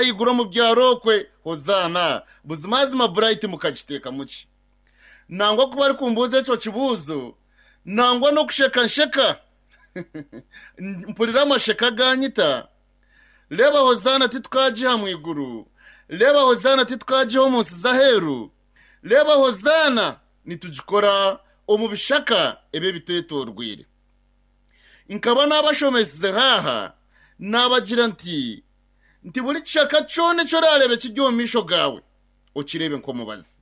ahaiguru omu byaro okwe Hozaana! Buzimazima Bright mukagiteekamu ki? Nangwa ku barikumbuuza ekyo kibuuzo, nangwa n'okusheka nsheka. Mpurira amasheka ganyita. Reeba Hozaana titukagiha mu iguru. Reeba Hozaana titukagiha omu nsi z'aheeru. Reeba Hozaana nitugikora omu bishaka ebi ebitwetoorweire. Nkaba naabashomesize haaha, naabagira nti, nti buri kishaka kyona eki oraareebe kiri omu maisho gaawe, okireebe nk'omubazi.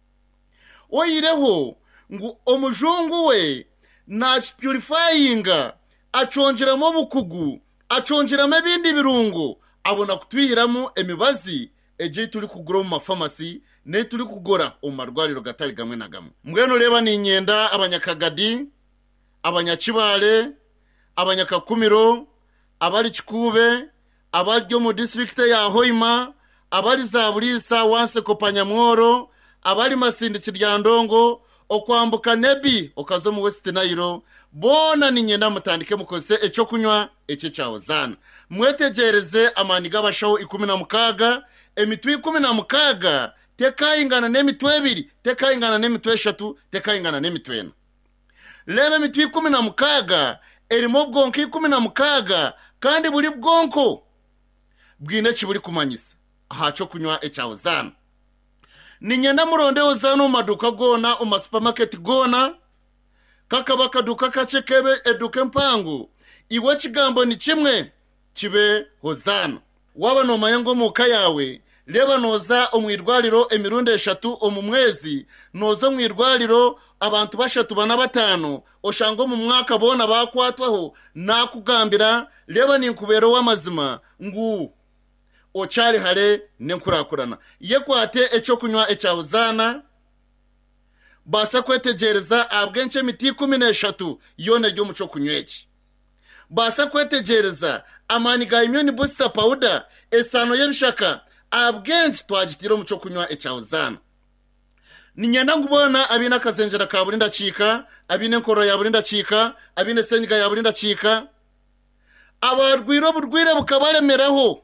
Oihireho ngu omujungu we naakipurifayinga, akyongyeramu obukugu, akyongyeramu ebindi birungo, abona kutwihiramu emibazi egyo ei turikugura omu mafamasi n'ei turikugura omu marwariro gatari gamwe na gamwe. Mbwenu reeba niinyenda Abanyakagadi, Abanyakibale, Abanyakakumiro, abari Kikuube, abari omu disiturikiti eya Hoima, abari Zaburiisa, Wanseko, Panyamworo, abari Masindi, Kiryandongo, okwambuka Nebbi okaza omu West Nile, boona niinyenda mutandike mukozese eky'okunywa eki ekya Hozaana. Mwetegyereze amaani g'abashaho 16, emitwe 16 tekaingana n'emitwe ebiri, tekaingana n'emitwe eshatu, tekaingana n'emitwe ena. Reeba emitwe 16 erimu obwonko 16 kandi buri bwonko bwine eki burikumanyisa aha ky'okunywa ekya Hozaana. Niinyenda muronde Hozaana omu maduuka goona, omu masupamaketi goona, kakaba akaduuka kakye kebe eduuka empango, iwe ekigambo ni kimwe, kibe Hozaana. Waaba noomanya ngu omu ka yaawe, reeba nooza omu irwariro emirundi eshatu omu mwezi, nooza omu irwariro abantu bashatu, bana, bataano, oshange omu mwaka boona baakwatwaho, naakugambira, reeba ninkubeera ow'amazima ngu okyari hare n'enkurakurana. Yekwate eky'okunywa ekya Hozaana. Baasa kwetegyereza ahabw'enki emiti 13 yoona eri omu ky'okunywa eki. Baasa kwetegyereza amaani ga Immune Booster Powder, esaano y'ebishaka, ahabw'enki twagitaire omu ky'okunywa ekya Hozaana. Niinyenda ngu boona abaine akazengyera ka buri ndakiika, abaine enkorora ya buri ndakiika, abaine senyiga ya buri ndakiika, abarwaire oburwaire bukabaremeraho,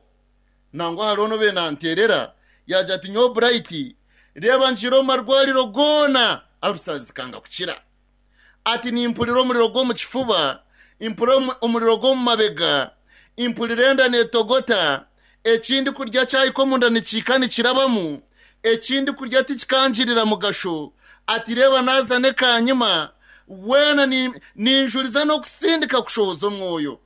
Nangwa hariho n'obaire naanteerera yaagira ati, Nyowe Bright, reeba ngiire omu marwariro goona arusa zikanga kukira. Ati, Nimpurira omuriro gw'omu kifuba, mpurira omuriro gw'omu mabega, mpurira enda neetogota, eki ndikurya kyahika omunda nikihika nikirabamu, eki ndikurya tikikangirira mugasho. Ati, Reeba naaza n'ekaanyima, weena ninjuriza n'okusindika kushohoza omwoyo.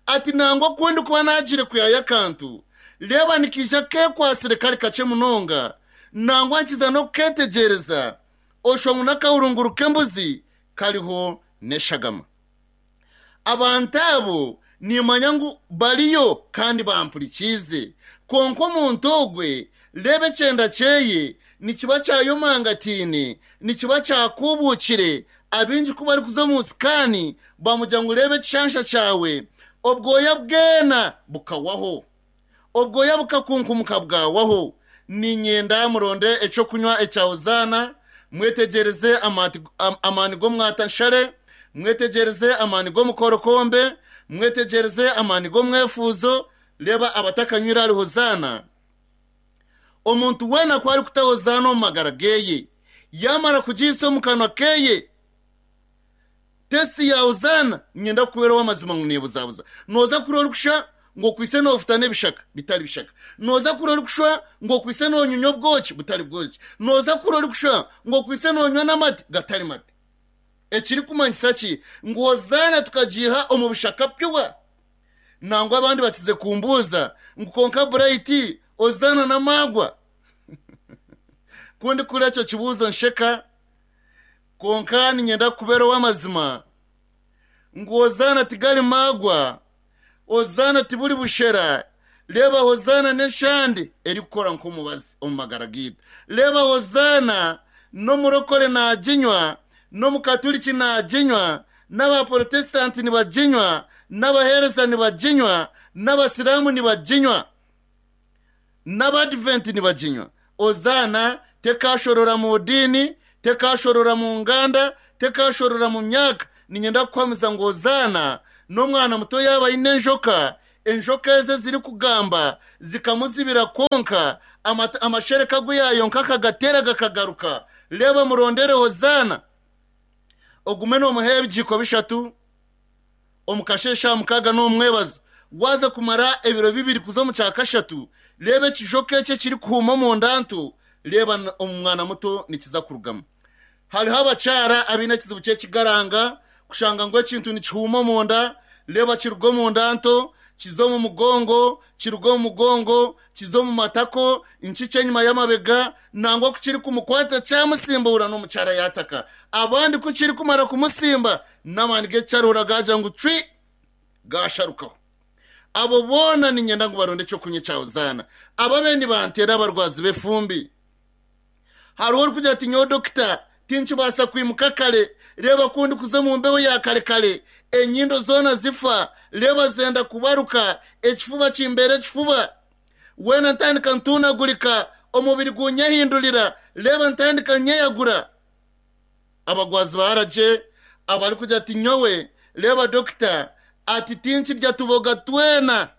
Ati, Nangwa ku ndikuba naagiire kwihayo akantu, reeba nikaija keekwatsire kari kakye munonga, nangwa nkiza n'okukeetegyereza, oshusha ngu n'akahurunguru k'embuzi kariho n'eshagama. Abantu abo nimmanya ngu bariyo kandi bampurikiize. Kwonka omuntu ogwe, reeba ekyenda kyeye nikiba kyayomangataine, nikiba kyakuubuukire, Abaingi ku barikuza omu sikaani bamugira ngu reeba ekishansha kyawe, obwoya bwena bukawaho. Obwoya bukakunkumuka bwawaho. Niinyenda muronde eky'okunywa ekya Hozaana, mwetegyereze amaani g'omwatanshare, mwetegyereze amaani g'omukorokombe, mwetegyereze amaani g'omwefuuzo. Reeba abatakanywire ahari Hozaana. Omuntu weena ku arikuta Hozaana omu magara geye, yaamara kugiitsa omu kanwa keye, tesiti ya Hozaana, niinyenda kukubeera ow'amazima ngu neebuzabuza. Nooza kuhurira orikushusha ngu okwaitse noofutana ebishaka, bitari bishaka. Nooza kuhurira orikushusha ngu okwaitse noonyunya obwoki, butari bwoki. Nooza kuhurira orikushusha ngu okwaitse noonywa n'amate, gatari mate. Ekirikumanyisa ki? Ngu Hozaana tukagiiha omu bishaka pyuwa. Nangwa abandi bakize kumbuuza ngu kwonka Bright ozaana n'amaagwa? Ku ndikuhurira ekyo kibuuzo nsheka, kwonka niinyenda kukubeera ow'amazima ngu ozaana tigari maagwa, ozaana tiburi bushera, reeba hozaana n'eshande erikukora nk'omubazi omu magara gaitu. Reeba hozaana n'omurokore naaginywa, n'omukaturiki naaginywa, N'Abaporotesitanti nibaginywa, n'abaheereza nibaginywa, n'Abasiraamu nibaginywa, n'Abaadiventi nibaginywa. Ozaana tekaashorora mu diini, tekaashorora mu nganda, tekaashorora mu myaka. Niinyenda kukuhamiza ngu ozaana n'omwana muto yaaba aine enjoka, Enjoka ezi ezirikugamba zikamuzibira kwonka amashereka agu yaayonka akagateera gakagaruka. Reeba murondere Hozaana. Ogume noomuha ebigiiko bishatu omu kasheeshe aha mukaaga n'omu mwebazo. Waaza kumara ebiro bibiri kuza omu kya kashatu, reeba ekijoka eki ekirikuhuuma omu nda nto, reeba omu mwana muto nikiza kurugamu. Hariho abakyara abaine ekizibu ky'ekigaranga, kushanga ngu ekintu nikihuuma omunda, reeba kiruga omunda nto, kiza omu mugongo, kiruga omu mugongo, kiza omu matako, nkikye enyima y'amabega, nangwa ku kirikumukwata kyamusimbuura n'omukyara yaataka. Abandi ku kirikumara kumusimba, n'amaani g'ekicaruhura gaagira ngu cwi, gaasharukaho. Abo boona niinyenda ngu baronde eky'okunywa ekya Hozaana. Ababe nibanteera abarwazi b'efumbi. Hariho orikugira ati, Nyowe dokita, tinkibaasa kwimuka kare. Reeba ku ndikuza omu mbeho ya kare kare, enyindo zoona zifa, reeba zenda kubaruka, ekifuba kimbeera ekifuba. Weena ntandika ntuunagurika, omubiri guunyehindurira, reeba ntandika nyeyagura. Abagwazi ba aragye abarikugira ati, Nyowe, reeba dokita, ati tinkirya tuboga twena.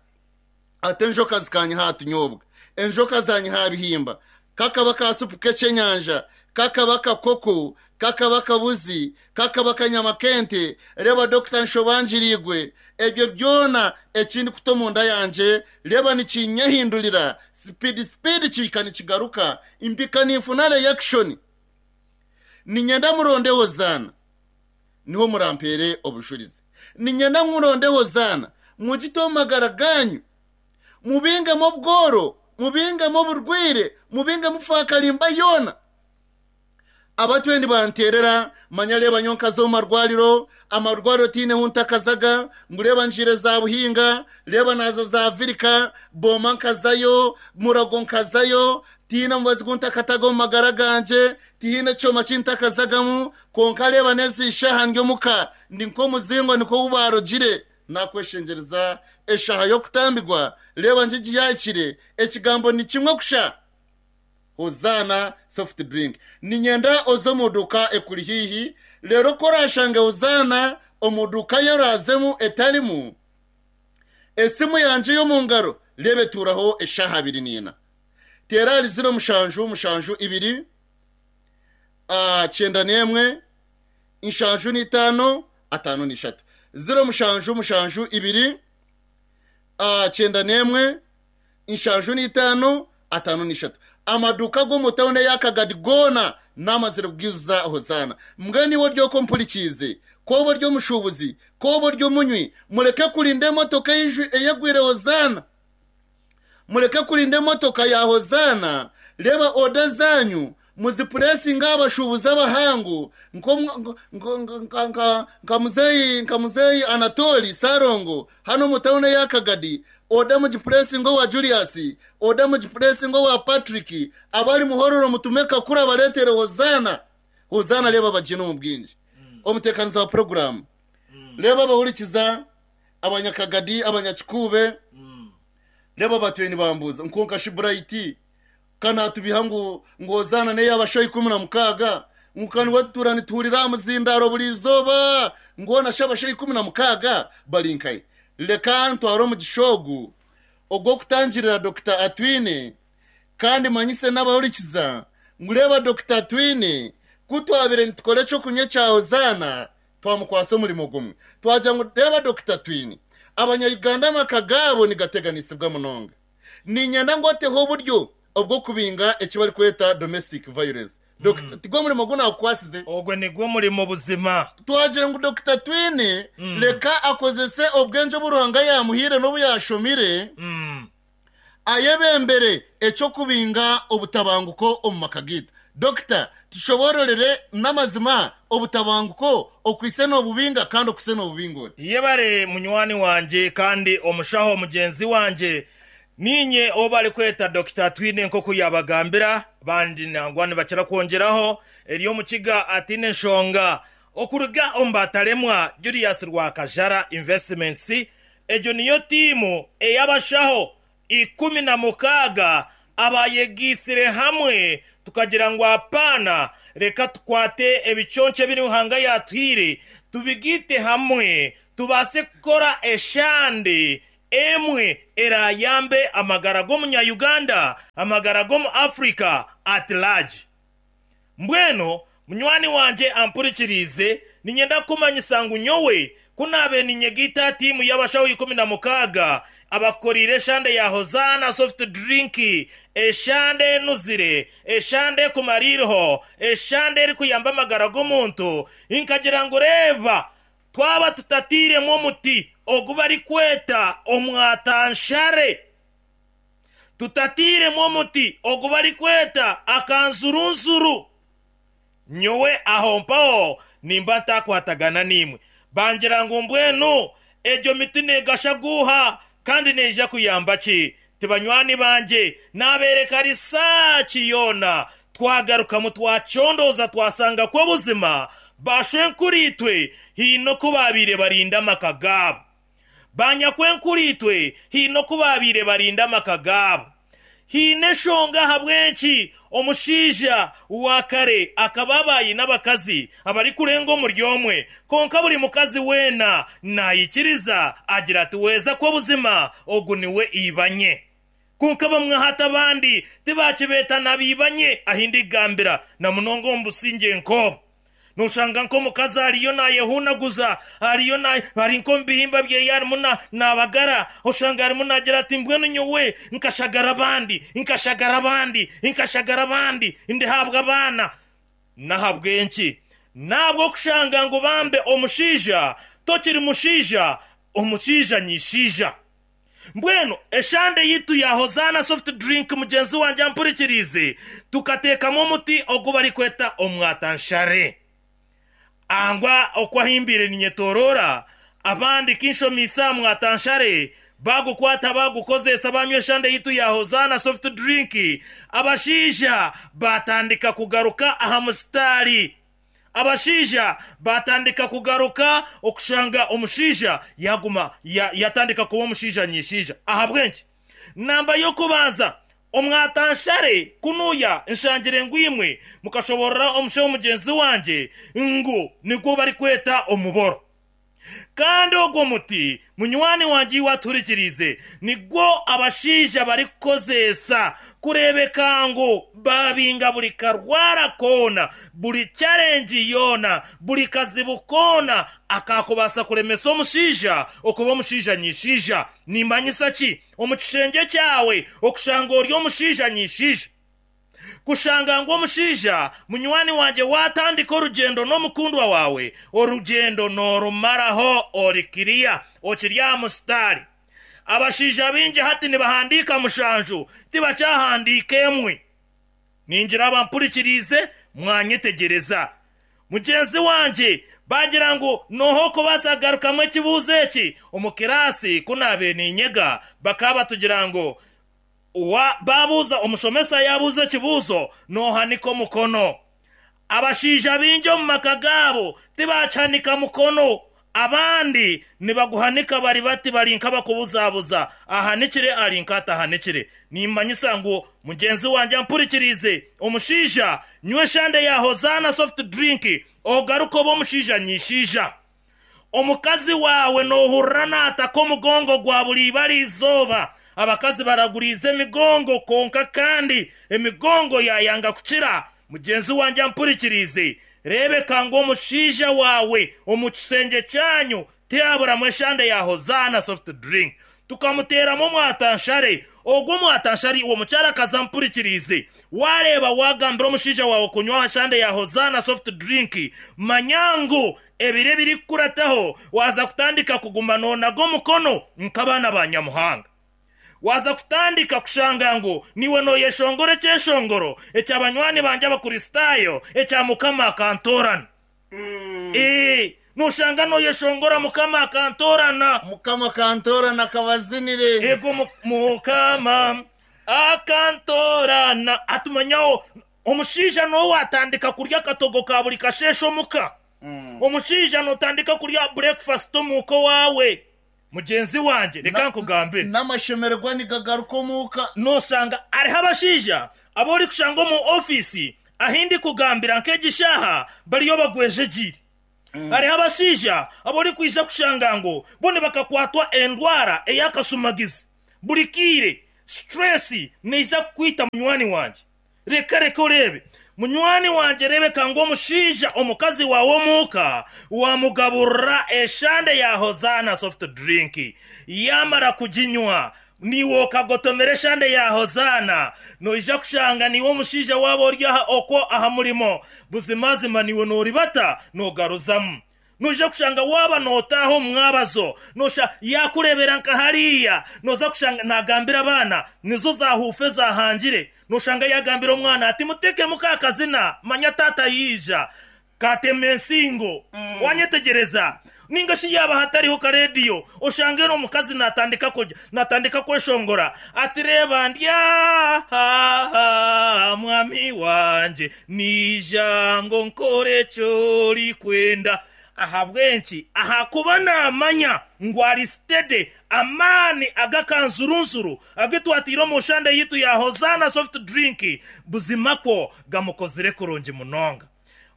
Ati enjoka zikanyiha aha tunyobwa, enjoka zanyiha aha bihimba, kakaba ka supu k'ekyenyanja, kakaba kakoko, kakaba kabuzi, kakaba kanyama k'ente, reeba dokita nshobangiriigwe, ebyo byona eki ndikuta omunda yangye, reeba nikinyehindurira, sipidi sipidi kihika nikigaruka, mpika ninfuna reyakishoni. Niinyenda muronde Hozaana. Niho murampeere obujurizi. Niinyenda ngu muronde Hozaana, mugite omu magara gaanyu, mubingemu obworo, mubingemu oburwaire, mubingemu faakarimba yoona. Abatwire nibanteerera, manya reeba nyowe nkaza omu marwariro, amarwariro tihaine hu ntakazaga, ngu reeba ngiire za Buhinga, reeba naaza za Virika, Booma nkazayo, Murago nkazayo, tihaine mubazi gu ntakataga omu magara gangye, tihaine kyoma ki ntakazagamu, Kwonka reeba n'ezi shaaha ndi omuka, ndi nk'omuzingo nikwo ou baarogire. Naakweshengyereza eshaaha y'okutambirwa, reeba ngigi yaahikire, ekigambo ni kimwe kusha, Hozaana soft drink. Niinyenda oze omu duuka ekuri haihi, reero ku oraashange Hozaana omu duuka ei oraazemu etarimu, esimu yangye ey'omu ngaro reeba etuuraho eshaaha abiri n'ina. Teera ahari ziro mushanju mushanju ibiri. 91 75 53. 0 7 7 2 91 75 53. Amaduuka ag'omu tauni eya Kagadi goona naamazire kugaijuza Hozaana. Mbwenu iwe ori okwo ompurikiize, ku oba ori omushuubuzi, ku oba ori omunywi, mureke kurinda emotoka eyegwire Hozaana. Mureke kurinda emotoka ya Hozaana, reeba oda zaanyu muzipuresinge aha bashuubuzi abahangu nka muzeeyi Anatoli Ssalongo hanu omu tauni eya Kagadi, oda mugipuresinge owa Julius, oda mugipuresinge owa Patrick, abari Muhororo mutume Kakuru abareetere Hozaana. Hozaana reeba bagyine omu bwingi. Omuteekaniza wa puroguraamu, reeba abahurikiza. Abanyakagadi, Abanyakikuube, reeba batwire nibambuuza ngu kwonka shi Bright ka naatubiha ngu ngu Hozaana n'ey'abashaho 16, ngu ka niwe tutuura nituhurira aha muzindaaro buri izooba, ngu hoona shi abashaho 16 bari nkahi? Reka ntware omugisha ogu ogw'okutangirira Dokita Atwine Kandi manyise n'abahurikiza ngu reeba Dokita Atwine, ku twabaire nitukora eky'okunywa ekya Hozaana, twamukwatsa omurimo gumwe. Twagira ngu reeba Dokita Atwine, Abanya-Uganda amaka gaabo nigateganisibwa munonga. Niinyenda ngu oteho oburyo obw'okubinga eki barikweta domestic violence. Dokita, tigwo murimo ogu naakukwatsize? Ogwo nigwo murimo buzima. Twagira ngu Dokita Atwine reka akozese obwengye obu Ruhanga yaamuhaire n'obu yaashomire, Ayebembere eky'okubinga obutabanguko omu maka gaitu. Dokita, tushoboororere n'amazima obutabanguko okwitse noobubinga kandi okwitse noobubinga ota? Yebare munywani wangye kandi omushaho mugyenzi wangye. Niinye ou barikweta Dokita Atwine nk'oku yaabagambira. Bandi nangwa nibakira kwongyeraho ery'omukiga ataine nshonga. Okuruga omu bataremwa Julius Rwakajara Investments Egyo niyo tiimu ey'abashaho 16 abaayegaitsire hamwe tukagira ngu apaana, reka tukwate ebiconco ebi Ruhanga yaatuhaire tubigaite hamwe tubaase kukora eshande. emwe eraayambe amagara g'omunya-Uganda, amagara g'omu Africa at large. Mbwenu munywani wangye ampurikiriize, niinyenda kukumanyisa ngu nyowe ku naabaire ninyegaita aha tiimu y'abashaho 16 abakukoreire eshande ya Hozaana Soft Drink, eshande enuzire, eshande ekumara eiriho, eshande erikuyamba amagara g'omuntu, nkagira ngu reeba twaba tutatairemu omuti ogu barikweta omwatanshare, Tutatairemu omuti ogu barikweta akanzurunzuru. Nyowe aho mpaho nimba ntakwatagana naimwe. Bangira ngu mbwenu egyo miti neegasha guuha kandi neija kuyamba ki? Ti banywani bangye, naabeereka risaaki yoona. Twagarukamu twacondooza twasanga ku obuzima baashwenkuriitwe haine oku baabaire barinda amaka gaabo. Banyakwenkuriitwe haine oku baabaire barinda amaka gaabo. Haine enshonga ahabw'enki omushaija wa kare akaba aba aine abakazi abarikurenga omuri omwe, kwonka buri mukazi weena naikiriza agira ati, Weeza kwo buzima ogu niwe ibanye. Kwonka bamwe hati abandi tibaakibeeta na baibanye ahi ndigambira, na munonga omu busingye nk'obu. Nooshanga nk'omukazi ariyo naayehuunaguza, ariyo na, ari nk'omu bihimba byeye arimu na, naabagara, oshanga arimu naagira ati, Mbwenu nyowe nkashagara abandi, nkashagara abandi, nkashagara abandi, ndihaabwa abaana. N'ahabw'enki? N'ahabw'okushanga ngu bambe omushaija tokiri mushaija, omushaija nyishaija. Mbwenu eshande yaitu ya Hozaana Soft Drink mugyenzi wangye ampurikiriize, tukateekamu omuti ogu barikweta omwatanshare. Angwa oku ahimbiire ninyetoroora, abandi kinshomiise aha mwatanshare, baagukwata baagukozeesa baanywa eshande yaitu ya Hozaana Soft Drink, abashaija baatandika kugaruka aha musitaari. Abashaija baatandika kugaruka okushanga omushaija yaaguma yatandika kuba omushaija nyishaija. Ahabw'enki? Namba y'okubanza, omwatanshare kunuya nshangire ngu imwe mukashoboorora omushaho mugyenzi wangye ngu nigwo barikweta omuboro. Kandi ogwo muti, munywani wangye iwe atuhurikiriize, nigwo abashaija barikukozeesa kureebeka ngu baabinga buri karwara koona, buri challenge yoona, buri kazibu koona akaakubaasa kuremesa omushaija okuba omushaija nyishaija. Nimanyisa ki? Omu kishengye kyawe okushanga ori omushaija nyishaija. Kushanga ngu omushaija munywani wangye waatandika orugyendo n'omukundwa waawe, orugyendo noorumaraho ori kiriya, okiri aha musitaari. Abashaija baingi hati nibahandiika mushanju, tibakyahandiika emwe. Ningira abampurikiriize mwanyetegyereza. Mugyenzi wangye baagira ngu nooha okubaasa kugarukamu ekibuuzo eki? Omu kiraasi ku naabaire niinyega, bakaba batugira ngu Wa, baabuuza, omushomesa yaabuuza ekibuuzo, noohanika omukono. Abashaija baingi omu maka gaabo tibaakihanika mukono. Abandi nibaguhanika bari bati bari nk'abakubuzabuza, ahanikire ari nk'atahanikire. Nimmanyisa ngu mugyenzi wangye ampurikiriize, omushaija, nywa eshande ya Hozaana soft drink ogaruke obe omushaija nyishaija. Omukazi waawe noohurira naataka omugongo gwa buri ibara izooba. Abakazi baraguriize emigongo kwonka kandi emigongo yaayanga kukira. Mugyenzi wangye ampurikiriize, reebeka ngu omushaija waawe omu kishengye kyanyu tihaburamu eshande ya Hozaana soft drink. Tukamuteeramu omwatanshare. Ogwo omwatanshare iwe omukyarakazi ampurikiriize, waareeba waagambira omushaija waawe kunywa aha shande ya Hozaana soft drink, manya ngu Ebiro ebirikukurataho waaza kutandika kuguma noonaga omukono nk'abaana ba Nyamuhanga. Waaza kutandika kushanga ngu niiwe nooyeshongora ekyeshongoro ekya banywani bangye Abakristaayo ekya Mukama akantoorana. Ee, nooshanga nooyeshongora Mukama akantoorana. Mukama akantoorana akabazinire. Eego, Mukama akantoorana. Hati manyaho Omushaija n'owaatandika kurya akatogo ka buri kasheeshe omuka. Omushaija nootandika kurya bureekufasiti omuuka owaawe. Mugyenzi wangye, reka nkugambire. N'amashemererwa nigagaruka omuuka. Nooshanga hariho abashaija abu orikushanga omu ofiisi ahu ndikugambira nk'egi shaaha bariyo bagwejegyeire. Hariho abashaija abu orikwija kushanga ngu bo nibakakwatwa endwara ey'akashumagizi. Buri kaire stress neija kukwita munywani wangye. Reka reka oreebe. Munywani wangye rebeka ngu omushaija omukazi waawe omuuka wamugaburira eshande ya Hosanna soft drink yamara kuginywa Niiwe okagotomera eshande ya Hozaana, noija kushanga niiwe omushaija waaba ori aha okwo aha murimo, buzimazima niiwe nooribata noogaruzamu. Noija kushanga waaba nootaaha omu mwabazo, nosha yaakureebera nka hariya, nooza kushanga naagambira abaana, nizo zaahuufa ezaahangire. Noshanga yaagambira omwana ati, Muteekemu ka kazina, manya taata yaija. Katema ensingo. Wanyetegyereza? Ninga shi yaaba hatariho karediyo, oshange omukazi natandika kurya, natandika kweshongora ati, Reeba ndi aha, mwami wangye, naija ngu nkore eki orikwenda. Ahabw'enki? Ahakuba naamanya ngu ari steady. Amaani ag'akanzurunzuru agu twataire omu nshande yaitu ya Hosanna Soft Drink buzima kwo gamukozire kurungi munonga.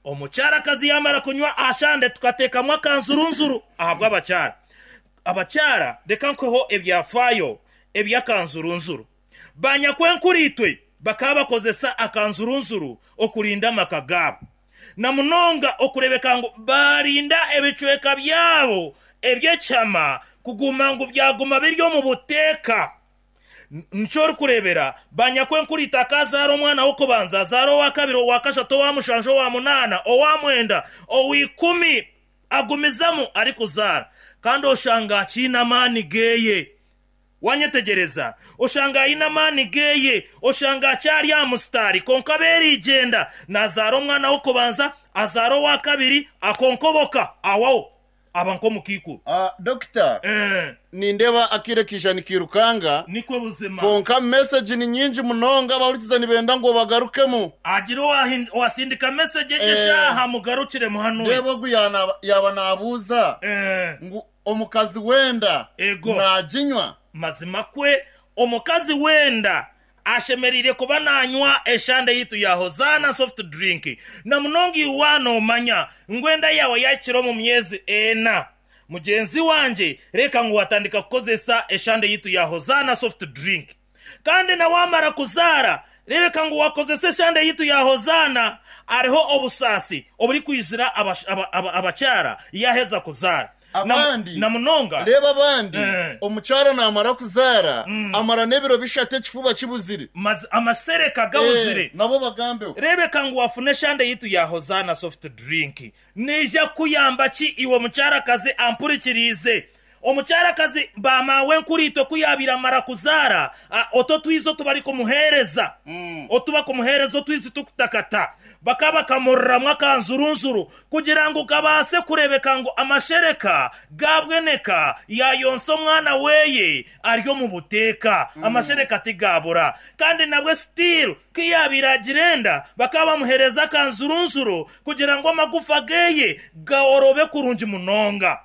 Omukyarakazi yaamara kunywa aha shande tukateekamu akanzurunzuru ahabw'abakyara. Abakyara reka nkuheho ebyafaayo eby'akanzurunzuru. Banyakwenkuriitwe bakaba bakozesa akanzurunzuru okurinda amaka gaabo. Na munonga okureebeka ngu baarinda ebicweka byabo eby'ekihama kuguma ngu byaguma biri omu buteeka. Nikyo orikureebera, banyakwenkuriitwe akaazaara omwana w'okubanza, azaara owa kabiri, owa kashatu, owa mushanju, owa munaana, owa mwenda, owa ikumi, agumizamu arikuzaara. Kandi oshanga akiine amaani geeye. Wanyetegyereza? Oshanga aine amaani geeye, oshanga akyari aha musitaari, kwonka beerigyenda, naazaara omwana w'okubanza, azaara owa kabiri, akonkoboka, awaho. Aba nk'omukaikuru. Dokita, nindeeba akaire kaija nikairukanga, Nikwo buzima. kwonka mesegi ni nyingi munonga, abahurikiza nibenda ngu obagarukemu. Hagire owasindika mesegi egi eshaaha mugarukire muhanure. Reeba ogu yaaba naabuuza ngu omukazi w'enda naaginywa? Mazima kwe, omukazi w'enda Ashemereire kuba nanywa eshande yaitu ya Hosanna Soft Drink na munonga iwe waaba nomanya ngu enda yaawe yahikire omu myezi ena. Mugyenzi wangye reka ngu watandika kukozesa eshande yaitu ya Hosanna Soft Drink. Kandi na wamara kuzaara rebeka ngu wakozesa eshande yaitu ya Hosanna. Hariho obusaasi oburikwizira abakyara yaheza kuzaara. Abandi, Na munonga. Reeba abandi, omukyara naamara kuzaara, amara n'ebiro bishatu ekifuba kibuzire. Amasereka gabuzire. Nabo bagambeho. Reebeka ngu wafuna eshande yaitu ya Hosanna Soft Drink. Neija kukuyamba ki iwe omukyarakazi ampurikiriize? Omukyarakazi, ba maawe nkuriitwe ku yaabaire amara kuzaara, otu otwizi otu barikumuheereza, otu bakumuheereza otwizi tukutakata, bakaba bakamuriramu akanzurunzuru Kugira ngu gabaase kureebeka ngu amashereka gaabweneka yaayonsa omwana weye ari omu buteeka, amashereka tigaabura. Kandi nabwe still ku yaabaire agira enda, bakaba bamuheereza akanzurunzuru kugira ngu amagufa geye gaorobe kurungi munonga.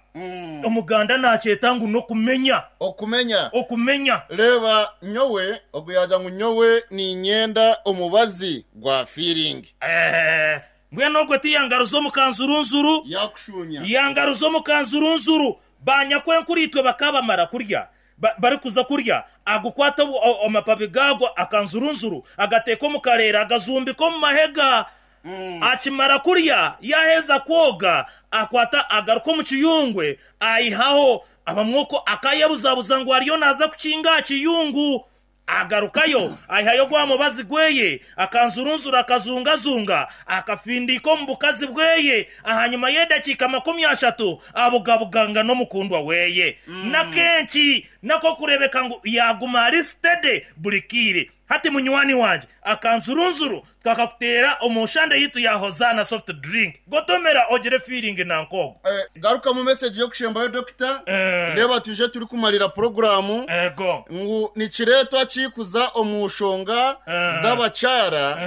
Omuganda naakyeta ngu n'okumenya. Okumenya. Okumenya. Reeba nyowe, ogu yaagira ngu nyowe niinyenda omubazi gwa feeling. Eeh. Mbwenu ogwo tiyangaruza omu kanzurunzuru? Yaakushuunya. Yangaruza omu kanzurunzuru. Banyakwenkuriitwe bakaba bamara kurya, ba, barikuza kurya, agukwata obu, o, amapabi gaagwo akanzurunzuru, agateeka omu kareera, agazumbika omu mahega. Akimara kurya, yaaheza kwoga, akwata agaruka omu kiyungwe, aihaho. Abamwe okwo akaayebuzabuza ngu ariyo naaza kukinga aha kiyungu. Agarukayo, aihayo gwa mubazi gweye, akanzurunzura akazungazunga, akafindiika omu bukazi bweye, ahanyima y'edakiika 30 abugabuganga n'omukundwa weye. N'akenki n'akokurebeka ngu yaguma ari steady buri kaire. Hati munywani wangye, akanzurunzuru twakakuteera omu nshande yaitu ya Hosanna Soft Drink. Gotomera ogire feeling nanka ogwo. Garukamu message y'okushembayo Dokita, reeba twije turikumarira puroguraamu ngu nikireetwa ki kuza omu nshonga z'abakyara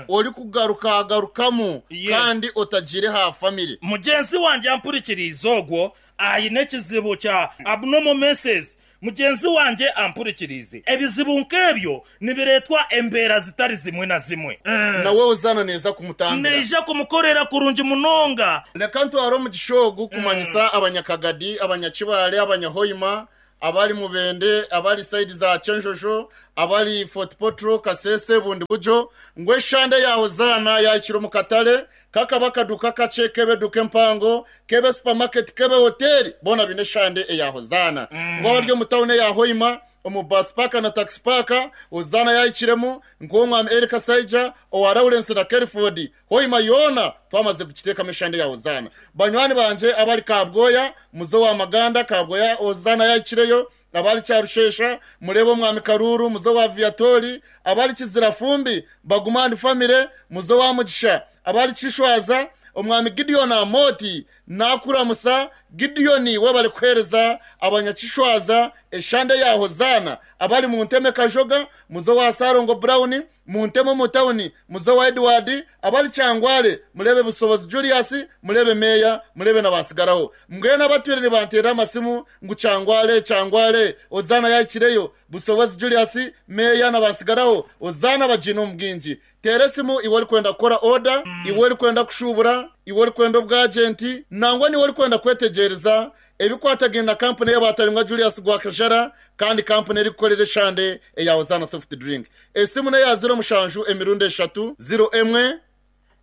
orikugarukagarukamu kandi otagiire aha family. Mugyenzi wangye ampurikiriize ogwo aine ekizibu kya abnormal menses. Mugyenzi wangye ampurikiriize. Ebizibu nk'ebyo nibireetwa embeera zitari zimwe na zimwe. Nawe Hozaana neeza kumutambira. Neija kumukorera kurungi munonga. Reka ntware omugisha ogu kumanyisa Abanyakagadi, Abanyakibaale, Abanyahoima, abari Mubende, abari sayidi za Kyenjojo, abari Fort Portal, Kasese, Bundibugyo, ngu eshande ya Hozaana yahikire omu katare, Kakaba akaduuka kakye, k'ebe eduuka empango, k'ebe supamaketi, k'ebe hoteeri, boona baine eshande eya Hozaana. Ngu abari omu tauni eya Hoima, omu baasi paaka na takisi paaka, Hozaana yaahikiremu, nk'ow'omwami Eli Kasaija, owa Lawrence na Kelford. Hoima yoona twamaze kugiteekamu eshande ya Hozaana. Banywani bangye abari Kabwoya, muze owa Maganda, Kabwoya Hozaana yaahikireyo, Abari Kyarushesha, mureebe Omwami Karuuru, muze owa Viatori, abari Kizirafumbi, Baguma and Family, muze owa Mugisha, abari Kishwaza, Omwami Gideon Amooti nakuramusa, Gideon webare kuhereza abanyakishwaza eshande ya Hozaana, abari Munteme Kajoga, muze owa Salongo Brown, Munteme omu tauni, muze owa Edward, abari Kyangwale, mureebe Busobozi Julius, mureebe Meeya, mureebe na Batsigaraho. Mbwenu abatwire nibanteerera amasimu ngu Kyangwale, Kyangwale, Hozaana yahikireyo, Busobozi Julius, Meeya na Batsigaraho, Hozaana bagiine omu bwingi. Teera esimu iwe orikwenda kukora oda, iwe orikwenda kushuubura, iwe orikwenda obwajenti, nangwa n'iwe orikwenda kwetegyereza Ebikwatagaine na kampuni ey'abaataringwa Julius Gwakajara kandi kampuni erikukorera eshande eya Hosanna Soft Drink. Esimu n'eya ziro mushanju emirundi eshatu, ziro emwe,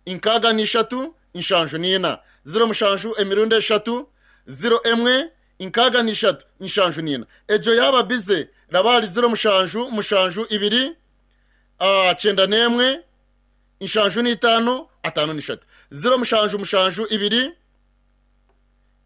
inkaaga n'ishatu, nshanju n'ina. Ziro mushanju emirundi eshatu, ziro emwe, inkaaga n'ishatu, nshanju n'ina. Egyo yaaba bize, raba ahari ziro mushanju, mushanju, ibiri, kyenda n'emwe, nshanju n'itaano, ataano n'ishatu. Ziro mushanju, mushanju, ibiri.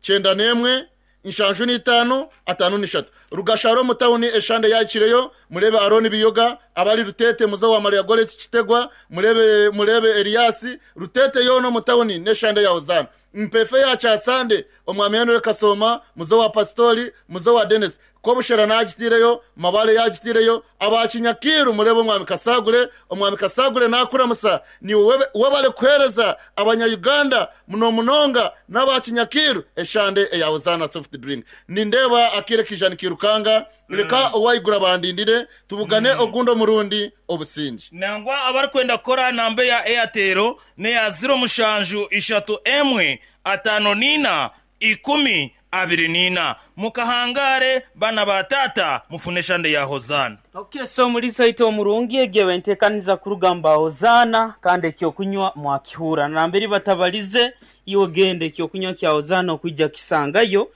91, 75, 53. Rugashara omu tauni eshande yahikireyo, mureebe Arooni Biyoga, abari Ruteete muze owa Maria Goretti Kitegwa, mureebe mureebe Elias, Ruteete yoona omu tauni n'eshande ya Hozaana. Mpeefa eya Kyasande, Omwami Henry Kasooma, muze owa Pasitori, muze owa Denis. Kobushera naagitiireyo, Mabale yaagitiireyo, aba Kinyakiiru mureebe Omwami Kasagure, Omwami Kasagure naakuramusa, niiwe webale kuheereza abanya Uganda muno munonga n'aba Kinyakiiru eshande eya Hosanna Soft Drink. Nindeeba akaire kaija nikairukanga, reka owaiguru abandindire tubugane ogundi omurundi. Obusingye. Nangwa abarikwenda kukora aha namba eya Airtel n'eya ziro mushanju ishatu emwe ataano n'ina 24. Mukahangaare, baana ba taata, mufune eshande ya Hozaana. Ok so omuriisa waitu omurungi egyo eba entekaniza kuruga mba Hozaana kandi ekyokunywa mwakihuura namberi batabalize iwe genda ekyokunywa kya Hozaana okwija kisangayo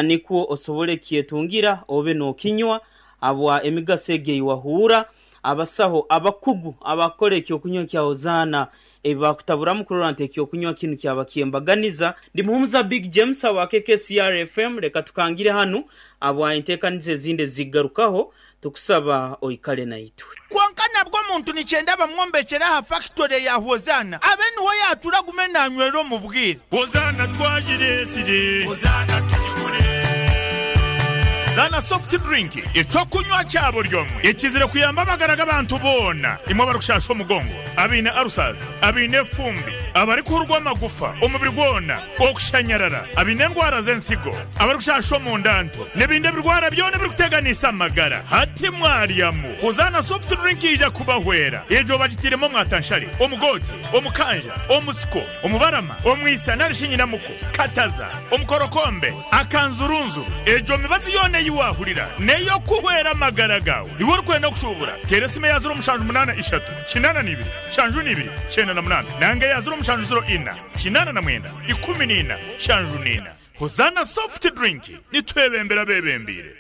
nikwo osobole kyetungira obe nokinywa habwa emigaso egyo eyiwahuura Abasaho abakugu abakukora ekyokunywa kya Hozaana ebi baakutaburamu kurora nti ekyokunywa kinu kyaba kyembaganiza. Ndi Muhumuza Big James awa KKCR FM, leka tukangire hanu habwa enteekaniza ezindi ezigarukaho, tukusaba oikale naitwe. Kwonka nabwo omuntu nikyenda bamwombekyere aha fakitore ya Hozaana abe niho yaatura agume naanywera omu bwire. Hozaana twagireetsire. Hozaana tugigure. Zaana Soft Drink, eky'okunywa kya buri omwe ekizire kuyamba amagara g'abantu boona, imwe abarikushasha omugongo, abaine ulcers, abaine efumbi, abarikuhurwa amagufa omubiri gwona, okushanyarara, abaine endwara z'ensigo, abarikushasha omunda nto, n'ebindi ebirwara byona ebirikuteganisa amagara. Hati mwaryamu. Hozaana Soft Drink yaija kubahwera. Egyo bagitairemu omwatanshare, omugoote, omukanja, omusiko, omubarama, omwisa nari shi nyinamuko, kataza, omukorokombe, akanzurunzuru. Egyo mibazi yoona ei waahurira n'ey'okuhwera amagara gaawe. Iwe orikwenda kushuubura, teera esimu eya 0783 82 72 98 nanga eya 0704 89 14 74. Hozaana Soft Drink, nitwebembera abeebembeire.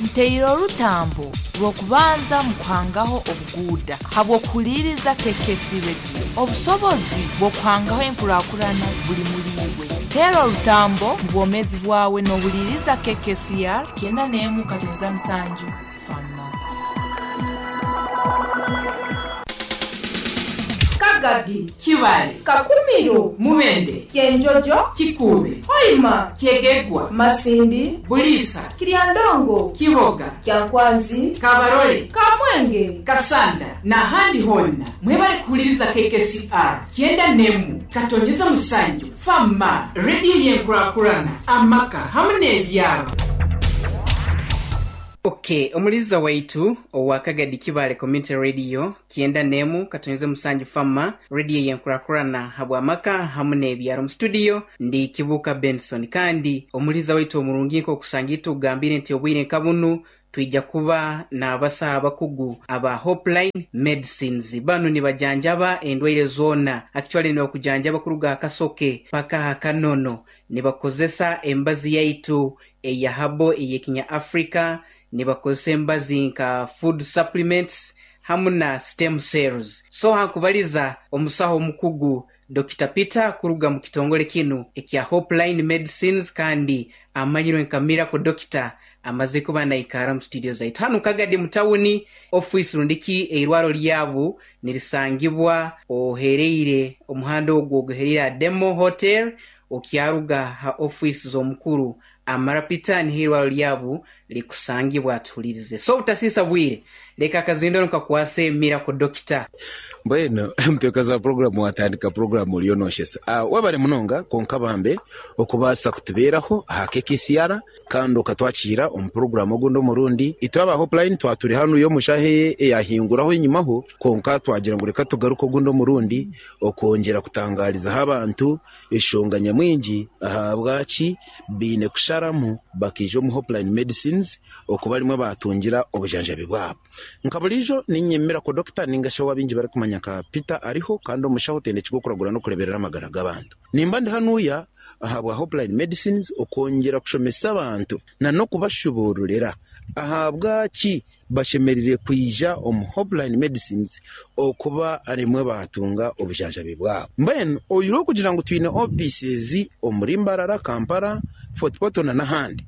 Nteire orutambo rw'okubanza mu kuhangaho obuguuda habw'okuhuliiriza KKC Radio. Obusobozi bw'okuhangaho enkurakurana buli muli iwe. Teera orutambo mu bwomeezi bwawe n'ohuliiriza KKCR 91.7 Fama. Kagadi, Kibale, Kakumiro, Mubende, Kyenjojo, Kikuube, Hoima, Kyegegwa, Masindi, Buliisa, Kiryandongo, Kiboga, Kyankwanzi, Kabarole, Kamwenge, Kasanda n'ahandi hoona. Mwebale kuhuliriza KKCR kyenda n'emu katonyeza musanju Fama, rediyo y'enkurakurana, amaka hamu n'ebyaro. Ok, omuliza waitu owa Kagadi Kibaale Community Radio 91.7 Fama, radio yenkurakurana habw'amaka hamu n'ebyaro. Mu studio ndi Kibuuka Benson, kandi omuliza waitu omurungi nk'okusanga itwe okugambire nti obwire nka bunu twija kuba n'abasaho abakugu aba Hopeline Medicines. Banu nibajanjaba endwaire zoona, actually nibakujanjaba kuruga aha kasoke paka aha kanono. Nibakozesa embazi yaitu eya habo ey'ekinya Africa, nibakozesa embazi nka food supplements hamu na stem cells. So hankubaliza omusaho omukugu Dokita Peter kuruga mu kitongole kinu ekya Hopeline Medicines kandi amanyirwe nka Miracle Doctor amaze kuba naikara mu studio zaitu hanu Kagadi mu tawuni. Office rundiki eirwaro lyabu nirisangibwa ohereire omuhanda ogwo oguhereire aha Demo Hotel, okyaruga ha office z'omukuru Amara Peter niho eirwaro lyabu likusangibwa. Atuhulirize. So obutasiisa bwire, leka akazindaro nkakwase Miracle Doctor. Mbwenu omuteekazi wa puroguraamu waatandika puroguraamu oriyo nooshesa. Webare munonga kwonka bambe okubaasa kutubeeraho aha KKCR kandi okatwakiira omu puroguraamu ogundi omurundi. Itwe aba Hopeline twaba turi hanuya omu shaaha eyahinguraho enyimaho kwonka twagira ngu reka tugaruke ogundi omurundi okwongyera kutangaarizaho abantu Enshonga nyamwingi ahabwaki baine kusharamu bakaija omu Hopeline Medicines okuba rimwe baatungira obujanjabi bwabo. Nka buriijo, niinye Miracle Doctor ninga shi ou abaingi barikumanya nka Peter Ariho kandi omushaho otendekirwe okuragura n'okureeberera amagara g'abantu. Nimba ndi hanuya ahabwa Hopeline Medicines okwongyera kushomesa abantu na n'okubashubuururira ahabwaki Bashemereire kwija omu Hopeline Medicines okuba rimwe baatunga obujanjabi bwabo. Mbwenu oyihireho okugira ngu twine offices omuri Mbarara, Kampala, Fort Portal na n'ahandi,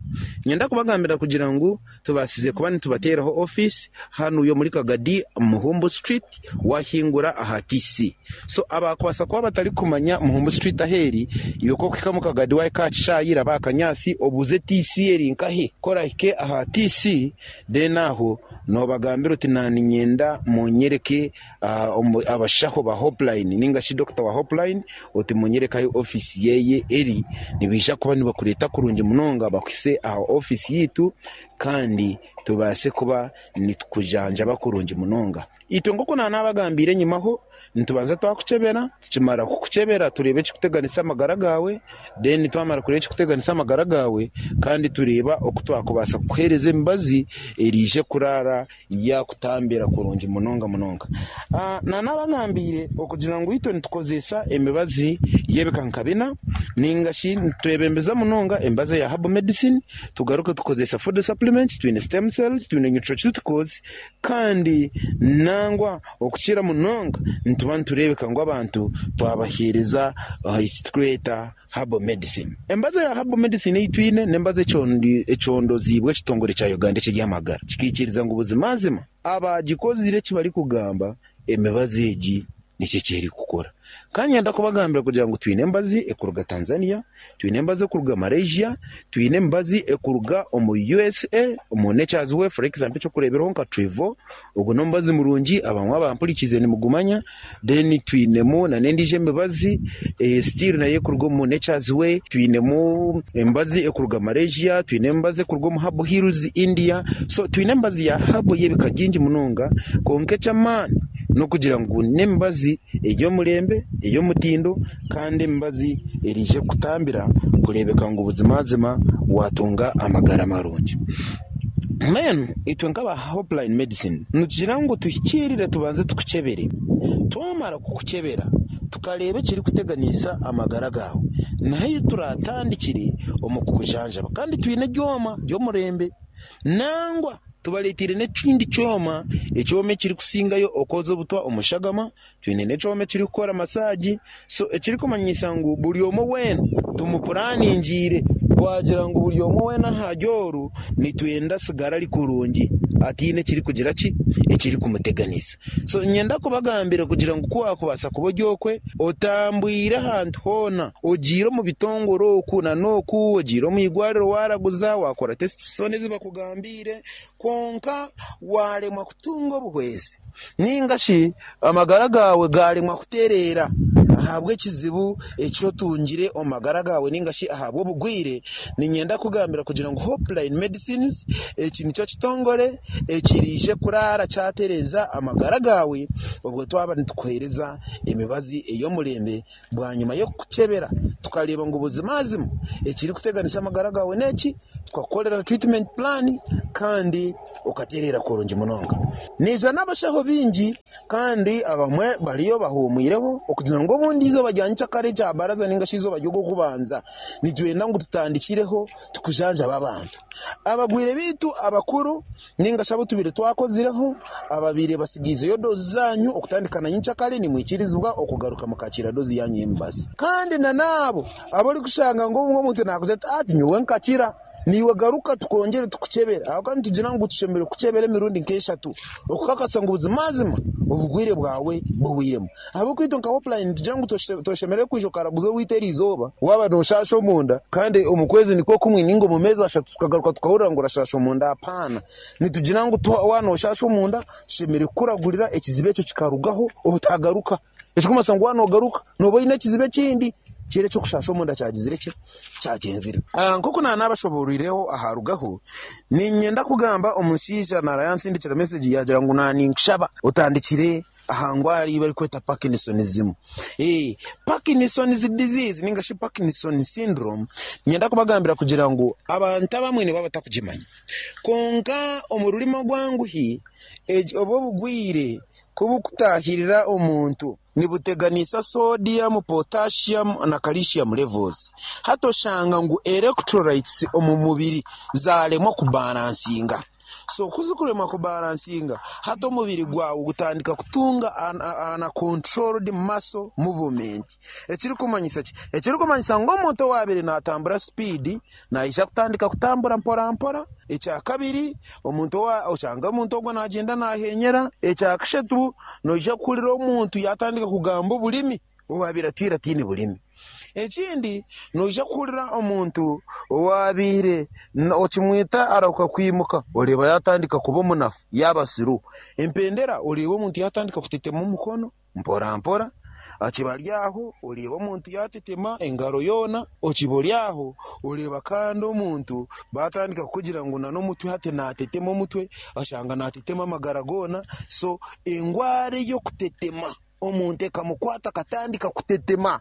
nyenda kubagambira kugira ngu tubaasize kuba nitubateeraho office hanuya omuri Kagadi, Muhumbu Street, wahingura aha TC. So abaakubaasa kuba batarikumanya Muhumbu Street ahu eri, iwe ku orikuhika omu Kagadi waahika aha kishaayi raba aha kanyaatsi obuuze TC eri nkahi. Ku orahike aha TC, Then aho nobagambira oti naninyenda munyereke abashaho ba Hopeline ninga shi doctor wa Hopeline oti munyereke ahu office yeye eri, nibaija kuba nibakureeta kurungi munonga bakuhise aha office yaitu kandi tubaase kuba nitukujanjaba kurungi munonga. Itwe nk'oku nanabagambiire enyimaho, nitubanza twakukyebera, tukimara kukukyebera tureeba ekirikuteganisa amagara gaawe, then twamara kureeba ekirikuteganisa amagara gaawe kandi tureeba oku twakubaasa kukuheereza emibazi eraije kuraara yaakutambira kurungi munonga munonga. Nanabagambiire okugira ngu itwe nitukozesa emibazi y'ebika nka bina ninga shi nitwebembeza munonga emibazi eya herbal medicine, tugaruke tukozesa food supplements, twine stem cells, twine nutraceuticals, Kandi nangwa okukira munonga nituba nitureebeka ngu abantu twabaheereza eki turikweta herbal medicine. Embazo ya herbal medicine ei twine n'embazo econdoziibwe ekitongore kya Uganda eky'eby'amagara kikaikiriza ngu buzimazima abaagikozire eki barikugamba emibazi egi nikyo eki erikukora. Ka niinyenda kubagambira kugira ngu twine emibazi ekuruga Tanzania, twine emibazi ekuruga Malaysia, twine emibazi ekuruga omu USA, omu Nature's Way for example eky'okureeberaho nka Trivo, ogwo n'omubazi murungi abamwe abampurikiize nimugumanya, then twinemu nana endiijo emibazi still nayo ekuruga omu Nature's Way, twinemu emibazi ekuruga Malaysia, twine emibazi ekuruga omu Herbal Hills India, so twine emibazi ya herbal y'ebika bingi munonga kwonka eky'amaani n'okugira ngu n'emibazi ey'omurembe, ey'omutindo kandi emibazi eraije kukutambira kureebeka ngu buzimazima waatunga amagara marungi. Mbwenu itwe nk'aba Hopeline Medicine nitugira ngu tuhikiirire tubanze tukukyebere. Twamara kukukyebera tukareeba ekirikuteganisa amagara gaawe, niho ahu turaatandikire omu kukujanjaba kandi twine ebyoma by'omurembe. Nangwa tubareeteire n'ekindi kyoma, ekyoma ekirikusingayo okwoza obutwa omu shagama, twine n'ekyoma ekirikukora masaagi, so ekirikumanyisa ngu buri omwe weena tumupuraningiire twagira ngu buri omwe weena ahari oru nitwenda asigare ari kurungi ataine ekirikugira ki, ekirikumuteganisa. So niinyenda kubagambira kugira ngu ku waakubaasa kuba ori okwe, Otambwire ahantu hoona, ogiire omu bitongore oku na n'oku, ogiire omu irwariro waaraguza, waakora tesiti zoona ezi bakugambiire, kwonka waaremwa kutunga obuhwezi, nainga shi amagara gaawe gaaremwa kutereera. Ahabw'ekizibu eki otungire omu magara gaawe ninga shi ahabw'obugwire, niinyenda kukugambira kugira ngu Hopeline Medicines eki nikyo kitongore ekiriije kuraara kyatereeza amagara gaawe obwo twaba nitukuheereza emibazi ey'omurembe bwanyima y'okukukyebera tukareeba ngu buzimazima ekirikuteganisa amagara gaawe n'eki, tukakukorera treatment plan kandi okatereera kurungi munonga. Naija n'abashaho baingi kandi abamwe bariyo bahuumwireho okugira ngu obundi eizooba rya nyenkyakare ekya baraza ninga shi eizooba ry'ogw'okubanza nitwenda ngu tutandikireho tukujanjaba abantu. Abagwire baitu abakuru ninga shi abu tubaire twakozireho ababaire batsigaizeyo doozi zaanyu okutandika na nyenkyakare nimwikirizibwa okugaruka mukakiira doozi yaanyu y'emibazi. Kandi na n'abo abu orikushanga ngu obumwe omuntu naakugira ati, Ati nyowe nkakira, naiwe garuka tukwongyere tukukyebere. Ahabw'okuba nitugira ngu tushemereire kukukyebera emirundi nk'eshatu okukakasa ngu buzimazima obugwire bwawe buhwairemu. Ahabw'okuba itwe nka Hopeline nitugira ngu toshemereire kwija okaraguza owaitu eriizooba waaba nooshaasha omunda kandi omu kwezi nikwo kumwe nainga omu meezi ashatu tukagaruka tukahurira ngu orashaasha omunda. Apaana. Nitugira ngu waaba nooshaasha omunda tushemereire kukuragurira ekizibu ekyo kikarugaho otagaruka. Ekirikumanyisa ngu waaba noogaruka nooba oine ekizibu ekindi kiri eky'okushaasha omunda kyagizire ki? Kyagyenzire. Nk'oku naanabashobooroireho aha rugaho, niinyenda kugamba omushaija naara yansindikira mesegi yaagira ngu naaninkushaba otandikire aha ndwara ei barikweta Parkinsonism. Parkinson's disease ninga shi Parkinson syndrome, niinyenda kubagambira kugira ngu abantu abamwe nibaba batarikugimanya. Kwonka omu rurimi orwanguhi, obu obugwire ku burikutaahirira omuntu, nibuteganisa sodium, potassium na calcium levels. Hati oshanga ngu electrolytes omu mubiri zaaremwa kubalansinga. So ku zirikuremwa kubalansinga, hati omubiri gwawe gutandika kutunga uncontrolled muscle movement. Ekirikumanyisa ki? Ekirikumanyisa ngu omuntu owaabaire naatambura sipiidi naija kutandika kutambura mporampora. Ekyakabiri, omuntu owa oshanga omuntu ogwo naagyenda naahenyera. Ekyakashatu, noija kuhurira omuntu yaatandika kugamba oburimi owaabaire atwire ataine burimi. Ekindi, noija kuhurira omuntu owaabaire okimweta arahuka kwimuka oreeba yaatandika kuba omunafu yaaba slow. Empendera oreeba omuntu yaatandika kutetema omukono mpora mpora, akiba ari aho oreeba omuntu yaatetema engaro yoona, okiba ori aho oreeba kandi omuntu baatandika kukugira ngu n'omutwe hati naatetema omutwe, oshanga naatetema amagara goona. So endwara ey'okutetema omuntu ekamukwata akatandika kutetema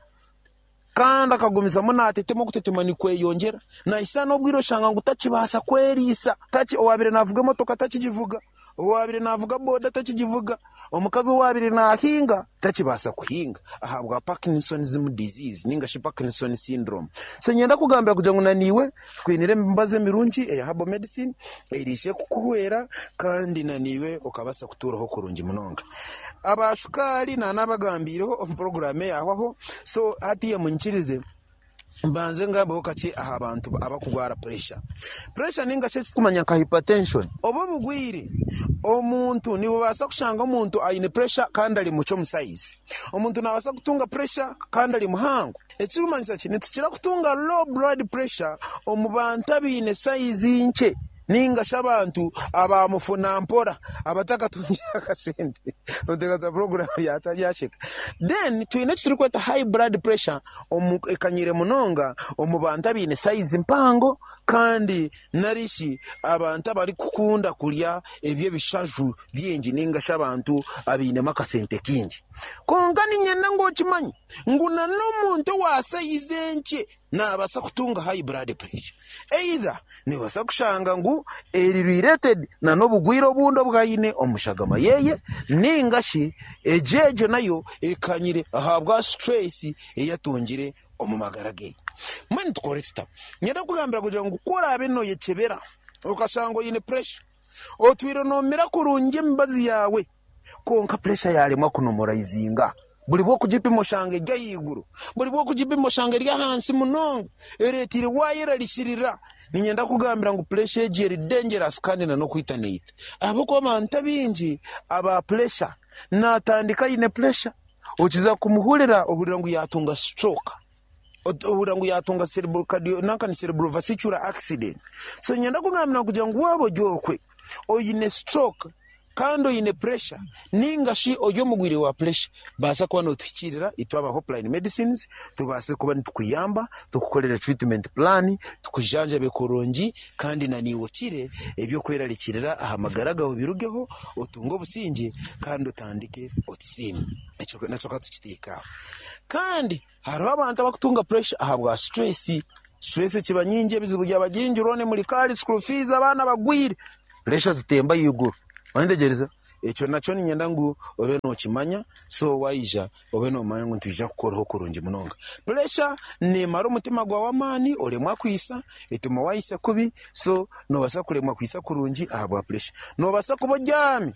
kandi akagumizamu naatetema okutetema nikweyongyera, naahitsya n'obwire oshanga ngu takibaasa kweriisa, owaabaire naavuga emotoka takigivuga, owaabaire naavuga boda takigivuga, omukazi owaabaire naahinga takibaasa kuhinga ahabwa Parkinson's disease ninga shi Parkinson syndrome. So niinyenda kukugambira kugira ngu naiwe tukwiniire emibazi emirungi eya herbal medicine eriije kukuhwera kandi naiwe okabaasa kutuuraho kurungi munonga. Aba shukaari naanabagambiireho omu puroguraamu eyaahwaho, so hatiiya munyikirize mbanze ngambeho kakye aha bantu abarikugwara puresha. Puresha ninga shi eki turikumanya nka hypertension, obu obugwire omuntu nibubaasa kushanga omuntu aine puresha kandi ari mukye omu sayizi. Omuntu naabaasa kutunga puresha kandi ari muhango. Ekirikumanyisa ki? Nitukira kutunga low blood pressure omu bantu abaine sayizi nkye ninga shi abantu aba mufuna mpora abatakatungire akasente. Oteekateeka puroguraamu yasheka. Then twine eki turikweta high blood pressure omu ekanyire munonga omu bantu abaine sayizi mpango kandi nari shi abantu abarikukunda kurya eby'ebishaju bingi ninga shi abantu abainemu akasente kaingi. Kwonka niinyenda ngu okimanye ngu na n'omuntu owa sayizi enkye naabaasa kutunga high blood pressure. Either noobaasa kushanga ngu eri related na n'obugwire obundi obu aine omu shagama yeye ninga shi egyo egyo nayo ekanyire ahabwa stress ei atungire omu magara ge. Mbwenu tukore tuta? Niinyenda kukugambira kugira ngu ku oraabe nooyekyebera okashanga oine pressure, otwire noomira kurungi emibazi yaawe, Kwonka puresha yaaremwa kunomoraizinga. Buri bw'okugipima oshanga eri ahaiguru, buri bw'okugipima oshanga eri ahansi munonga, ereeteire waayerarikirira. Niinyenda kukugambira ngu puresha egi eri dangerous kandi n'okwita neita. Ahabw'okuba abantu abaingi aba puresha naatandika aine puresha, okiza kumuhurira ohurira ngu yaatunga stroke. Ohurira ngu yaatunga cerebral cardio nanka ni cerebrovascular accident. So niinyenda kukugambira kugira ngu waaba ori okwe oine stroke, Kandi oine pressure ninga shi ori omugwire wa pressure, baasa kuba nootuhikiirira itwe aba Hopeline Medicines tubaase kuba nitukuyamba, tukukorere treatment plan, tukujanjabe kurungi kandi na naiwe okire eby'okwerarikirira aha magara gaawe birugeho, otunge obusingye kandi otandike otusiime. Ekyo nakyo ka tukiteeke aho. Kandi hariho abantu abakutunga pressure ahabwa stress. Stress ekiba nyingi, ebizibu byaba bingi, loan muri kaari, school fees, abaana bagwire, pressure zitemba ahaiguru. Wayetegyereza? Ekyo nakyo niinyenda ngu obe nookimanya, so waija obe noomanya ngu nitwija kukoraho kurungi munonga. Puresha neemara omutima gwawe amaani oremwa kwitsa, etuma waitsa kubi, so noobaasa kuremwa kwitsa kurungi ahabwa puresha. Noobaasa kuba obyami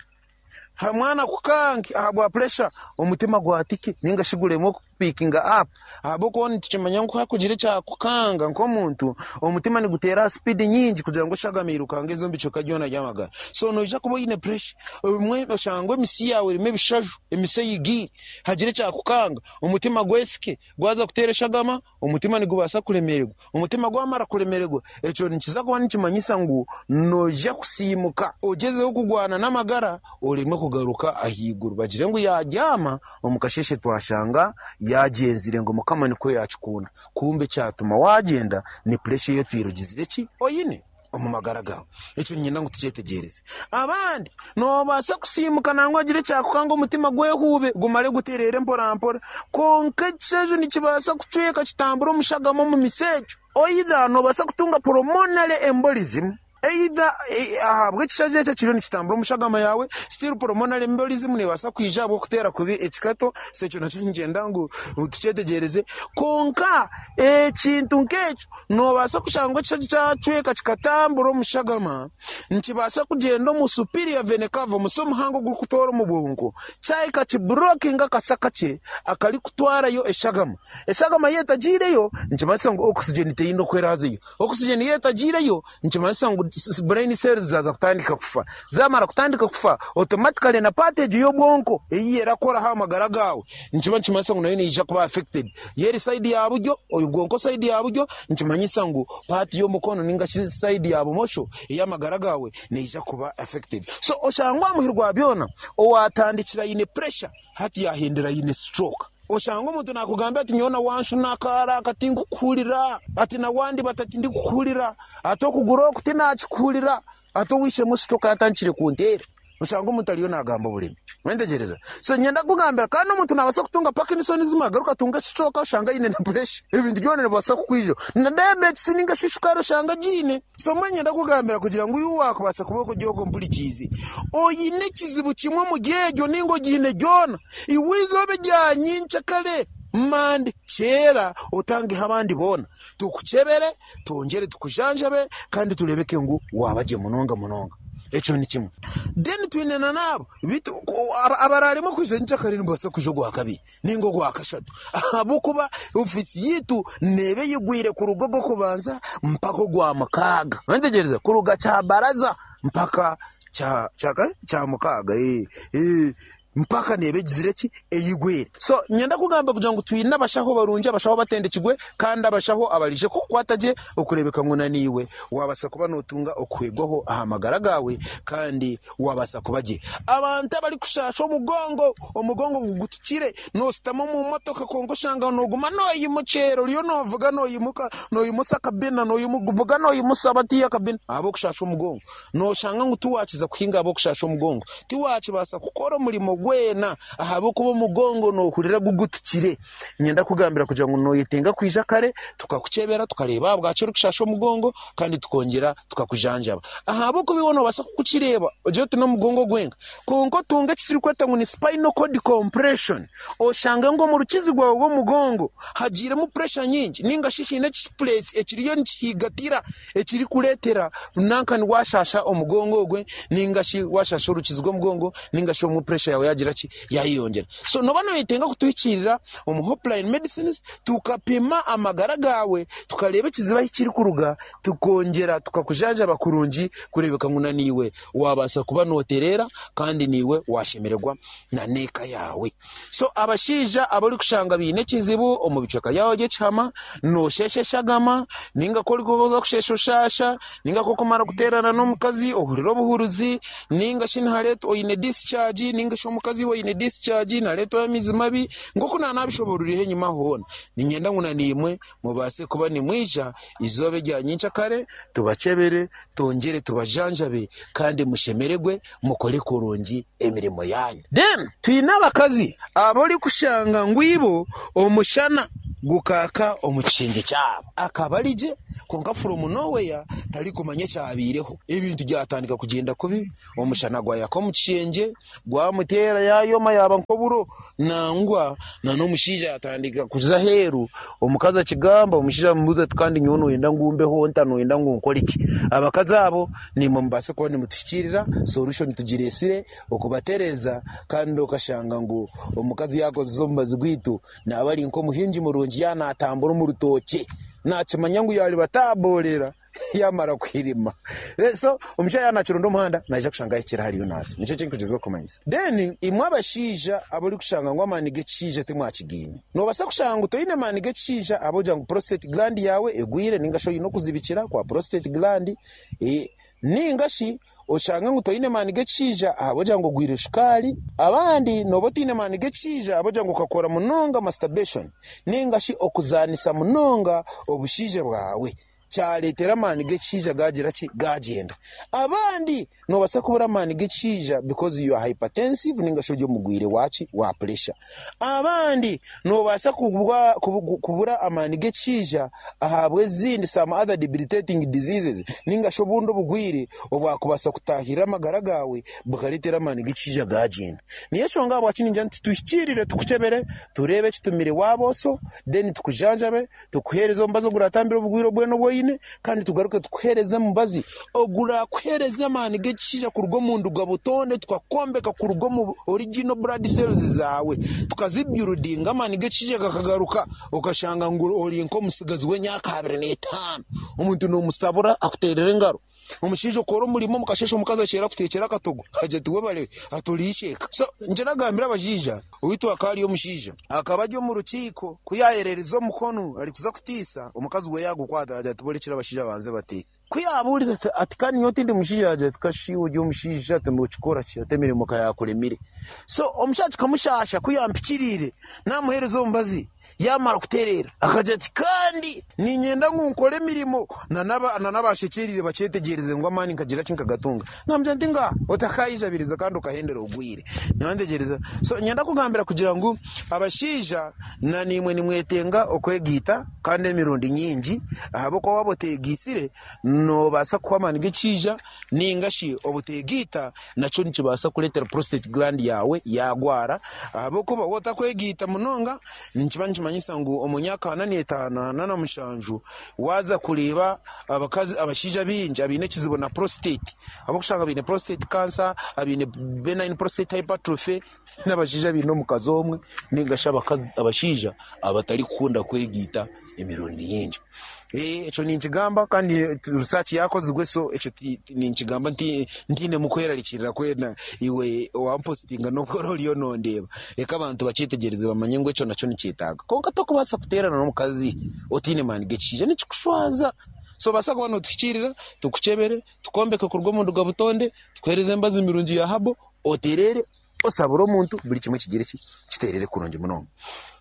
hamwana kukange ahabwa puresha omutima gwatike ninga shi guremwe kupikinga apu ahabw'okuba nitukimanya ngu ku hakugira ekyakukanga nk'omuntu, omutima niguteera aha sipiidi nyingi kugira ngu eshagama eirukange eze omu bicweka byona by'amagara. So noija kuba oine puresha, obumwe oshange emisi yaawe erimu ebishaju, emisi eyigiire, hagire ekyakukanga, omutima gwesike, gwaza kuteera eshagama, Omutima nigubaasa kuremererwa. Omutima gwamara kuremererwa, ekyo nikiza kuba nikimanyisa ngu noija kusiimuka ogyezeho kurwana n'amagara oremwe kugaruka ahaiguru. Bagire ngu yaabyama, omu kasheeshe twashanga yaagyenzire ngu Mukama nikwo yaakikunda. Kumbe ekyatuma waagyenda ni puresha ei otwire ogizire ki? Oine. omu magara gaawe. Ekyo niinyenda ngu tukyetegyereze. Abandi noobaasa kusiimuka nangwa hagire ekyakukanga omutima gwehuube gumare gutereere mporampora. Kwonka ekishajo nikibaasa kucweka kitambure omushagama omu misi egyo. Either noobaasa kutunga pulmonary embolism, either ahabw'ekishajo ekyo ekiriyo nikitambura omushagama yaawe, still pulmonary embolism neebaasa kwija ahabw'okuteera kubi ekikato, so ekyo nakyo niinyenda ngu tukyetegyereze. Kwonka ekintu nk'ekyo Noobaasa kushanga ekishaju kyacweka kikatambura omu shagama, nikibaasa kugyenda omu superior vena cava, omusi omuhango ogurikutoora omu bwonko, kyahika kiburokinga akasa kakye akarikutwarayo eshagama. Eshagama yaaba etagiireyo, nikimanyisa ngu oxygen teine oku eraazeyo. Oxygen yaaba etagiireyo, nikimanyisa ngu brain cells zaaza kutandika kufa. Zaamara kutandika kufa, automatically na part egyo y'obwonko ei erakoraho aha magara gaawe, nikiba nikimanyisa ngu nayo neija kuba affected. Y'eri side ya buryo, obwonko side ya buryo, nikimanyisa ngu part y'omukono ninga shi side ya bumosho ey'amagara gaawe neija kuba affected. So oshangwe aha muheru gwa byona owatandikire aine pressure hati yahendera aine stroke. Oshanga omuntu nakugambira ati nyowe nawanshuna akaara aka tinkukuhurira, ati nawandibata tindikukuhurira, ati okuguru oku tinakikuhurira, ati ow'eishe-emwe stroke yatandikire kunteera. Oshanga omuntu ariyo nagamba oburimi. Wentegereza? So niinyenda kukugambira kandi omuntu nabaasa kutunga Parkinsonism agaruke atunge stroke oshange aine na pressure. Ebintu byona nibibaasa kukwijaho. Na diabetes ninga shi shukaari oshange agiine. So mbwenu niinyenda kukugambira kugira ngu iwe wakubaasa kuba ori ogwo ompurikiize, oine ekizibu kimwe omuri egyo ninga ogiine gyona, iwe eizooba erya nyenkyakare, Monday, kyeera otangeho abandi boona. Tukukyebere, twongyere tukujanjabe kandi tureebeke ngu waaba gye munonga munonga. Ekyo ni kimwe. Then twine na n'abo beitu abaraaremwe kwija nyenkyakare nibabaasa kwija ogwakabiri nainga ogwakashatu ahabw'okuba ofiisi yaitu neeba eyigwire kuruga ogw'okubanza mpaka ogwamukaaga. Noyetegyereza? Kuruga kyabaraza mpaka kyamukaaga. Mpaka neeba egizire ki? Eyigwire. So, niinyenda kugamba kugira ngu twine abashaho barungi, abashaho abatendekirwe, kandi abashaho abaraije kukukwata gye okureebeka ngu naiwe waabaasa kuba nootunga okuhwegwaho aha magara gaawe kandi waabaasa kuba gye. Abantu abarikushaasha omugongo, omugongo gugutukire, nooshutama omu motoka kwonka oshanga nooguma nooyimukyera, oriyo noovuga noimuka, noimusa akabina, noovuga noimusa batiiya akabina ahabw'okushaasha omugongo. Nooshanga ngu tiwaakiza kuhinga ahabw'okushaasha omugongo. Tiwaakibaasa kukora omurimo gwena ahabw'okuba omugongo noohurira gugutukire. Niinyenda kukugambira kugira ngu nooyetenga kwija kare tukakukyebera tukareeba ahabwaki orikushaasha omugongo kandi tukongyera tukakujanjaba. Ahabw'okuba iwe noobaasa kukukireeba ogire oti n'omugongo gwenka kwonka otunge eki turikweta ngu ni spinal cord compression oshange ngu omu rukizi rwawe rw'omugongo hagiiremu pressure nyingi nainga shi haine ekipuresi ekiriyo nikihigatira ekirikureetera nankani waashaasha omugongo ogwe nainga shi waashaasha orukizi rw'omugongo nainga shi obumwe puresha yaawe. yagira ki yayeyongyera. So noba noyetenga kutuhikiirira omu Hopeline Medicines tukapima amagara gaawe tukareeba ekizibu ahi kirikuruga tukongyera tukakujanjaba kurungi kureebeka ngu naniiwe wabaasa kuba notereera kandi niiwe washemererwa na n'eka yaawe. So abashaija abarikushanga baine ekizibu omu bicweka byawe by'ekihama, noosheesha eshagama, ninga ku orikuza kusheesha oshaasha, ninga ku orikumara kuteerana n'omukazi ohurira obuhuruzi, ninga shi nihareetwa oine discharge, ninga shi omukazi we aine discharge nihareetwayo amaizi mabi, nk'oku naanabishoboororireho enyima aho hoona. Niinyenda ngu nanaimwe mubaase kuba nimwija eizooba erya nyencakare tubakyebere, twongyere tubajanjabe kandi mushemererwe mukore kurungi emirimo yaanyu. Then twine abakazi abu orikushanga ngu ibo omushana gukaaka omu kishengye kyabo akaba ari gye kwonka from nowhere tarikumanya ekyabaireho ebintu byatandika kugyenda kubi omushana gwayaka omu kishengye gwamuteera yaayoma yaaba nk'oburo nangwa n'omushaija yaatandika kuza aheeru omukazi akigamba omushaija amubuuza ati kandi nyowe nooyenda ngu mbeho nta nooyenda ngu nkore ki? Abakazi abo naimwe mubaase kuba nimutuhikiirira solution tugireetsire okubatereeza kandi okashanga ngu omukazi yaakozesa omubazi gwaitu naaba ari nk'omuhingi murungi yaaba naatambura omu rutookye naakimanya ngu yaariba taaboorera. Yaamara kuhirima. So omushaija yaaba naakironda omuhanda, naija kushanga ahikire ahariyo naaza. Nikyo eki ndikugyezaho kumanyisa. Then imwe abashaija abu orikushanga ngu amaani g'ekishaija timwakigaine. Noobaasa kushanga ngu toine maani g'ekishaija ahabw'okugira ngu prostate gland yaawe egwire nainga shi oine okuzibikira kwa prostate gland, nainga shi Oshange ngu toine maani g'ekishaija ahabw'okugira ngu ogwire shukaari. Abandi nooba otaine maani g'ekishaija ahabw'okugira ngu okakora munonga masturbation nainga shi okuzaanisa munonga obushaija bwawe kyareetera amaani g'ekishaija gaagira ki? Gaagyenda. Abandi noobaasa kubura amaani g'ekishaija because you are hypertensive nainga shi ori omurwaire wa ki? Wa pressure. Abandi noobaasa kubura amaani g'ekishaija ahabw'ezindi some other debilitating diseases ninga shi obundi obugwire obwakubaasa kutaahirira amagara gaawe bukareetera amaani g'ekishaija gaagyenda. Niyo enshonga ahabwaki ningira nti tuhikiirire tukukyebere tureebe ekitumire waaba oso then tukujanjabe tukuheereze omubazi oguratambire obugwire obwena obu oine kandi tugaruke tukuheereze omubazi ogurakuheereza amaani g'ekishaija kuruga omu nduga butonde tukakwombeka kuruga omu original blood cells zaawe tukazibyurudinga amaani g'ekishaija gakagaruka okashanga ngu ori nk'omutsigazi w'emyaka 25 omuntu nomusabura akuteerera engaro. Omushaija okora omurimo omu kasheeshe omukazi akyera akuteekyera akatogo agira ati webare ati ori isheeka. So nikyo nagambira abashaija owaitu hakaba hariyo omushaija akaba ari omu rukiiko ku yayererize omukono arikuza kutiisa omukazi we yagukwata yagira ati borekire abashaija banze batiise. Ku yabuurize ati ati kandi nyowe tindi mushaija yagira ati kashi iwe ori omushaija ati nokikora ki ati emirimo ka yakuremire. So omushaija kikamushaasha ku yampikiriire namuheereza omubazi Yaamara kutereera, akagira ati, Kandi niinyenda ngu nkore emirimo na n'abaashekyereire bakyetegyereze ngu amaani nkagira ki nkagatunga. Naamugira nti, Ngaaha, otakaayijabiriza kandi okahendera obwire. Nyowe So, niinyenda kugambira kugira ngu abashaija na naimwe nimwetenga okwegaita kandi emirundi nyingi ahabw'okuba waaba oteegaitsire noobaasa kuhwa amaani g'ekishaija nainga shi obuteegaita nakyo nikibaasa kureetera prostate gland yaawe yaagwara ahabw'okuba waaba otakwegaita munonga nikiba nikimanyisa ngu omu myaka ana n'etaano ana na mushanju waaza kureeba abakazi abashaija baingi abaine ekizibu na prostate ahabw'okushanga baine prostate cancer abaine benign prostate hypertrophy n'abashaija abaine omukazi omwe ninga shi abakazi abashaija abatarikukunda kwegaita emirundi mingi. Ekyo ninkigamba kandi research yakozirwe so ekyo ninkigamba ntainemu kwerarikirira kwena iwe owampositinga n'obu oraba oriyo nondeeba. Reka abantu bakyetegyereze bamanye ngu ekyo nakyo nikyetaaga. Kwonka tokubaasa kuteerana n'omukazi otaine maani g'ekishaija nikikushwaza. So obaasa kuba notuhikiirira tukukyebere, tukwombeke kuruga omu nduga butonde, tukuheereze emibazi mirungi ya herbal otereere osabure omuntu buri kimwe kigire ki kiterere kurungi munonga.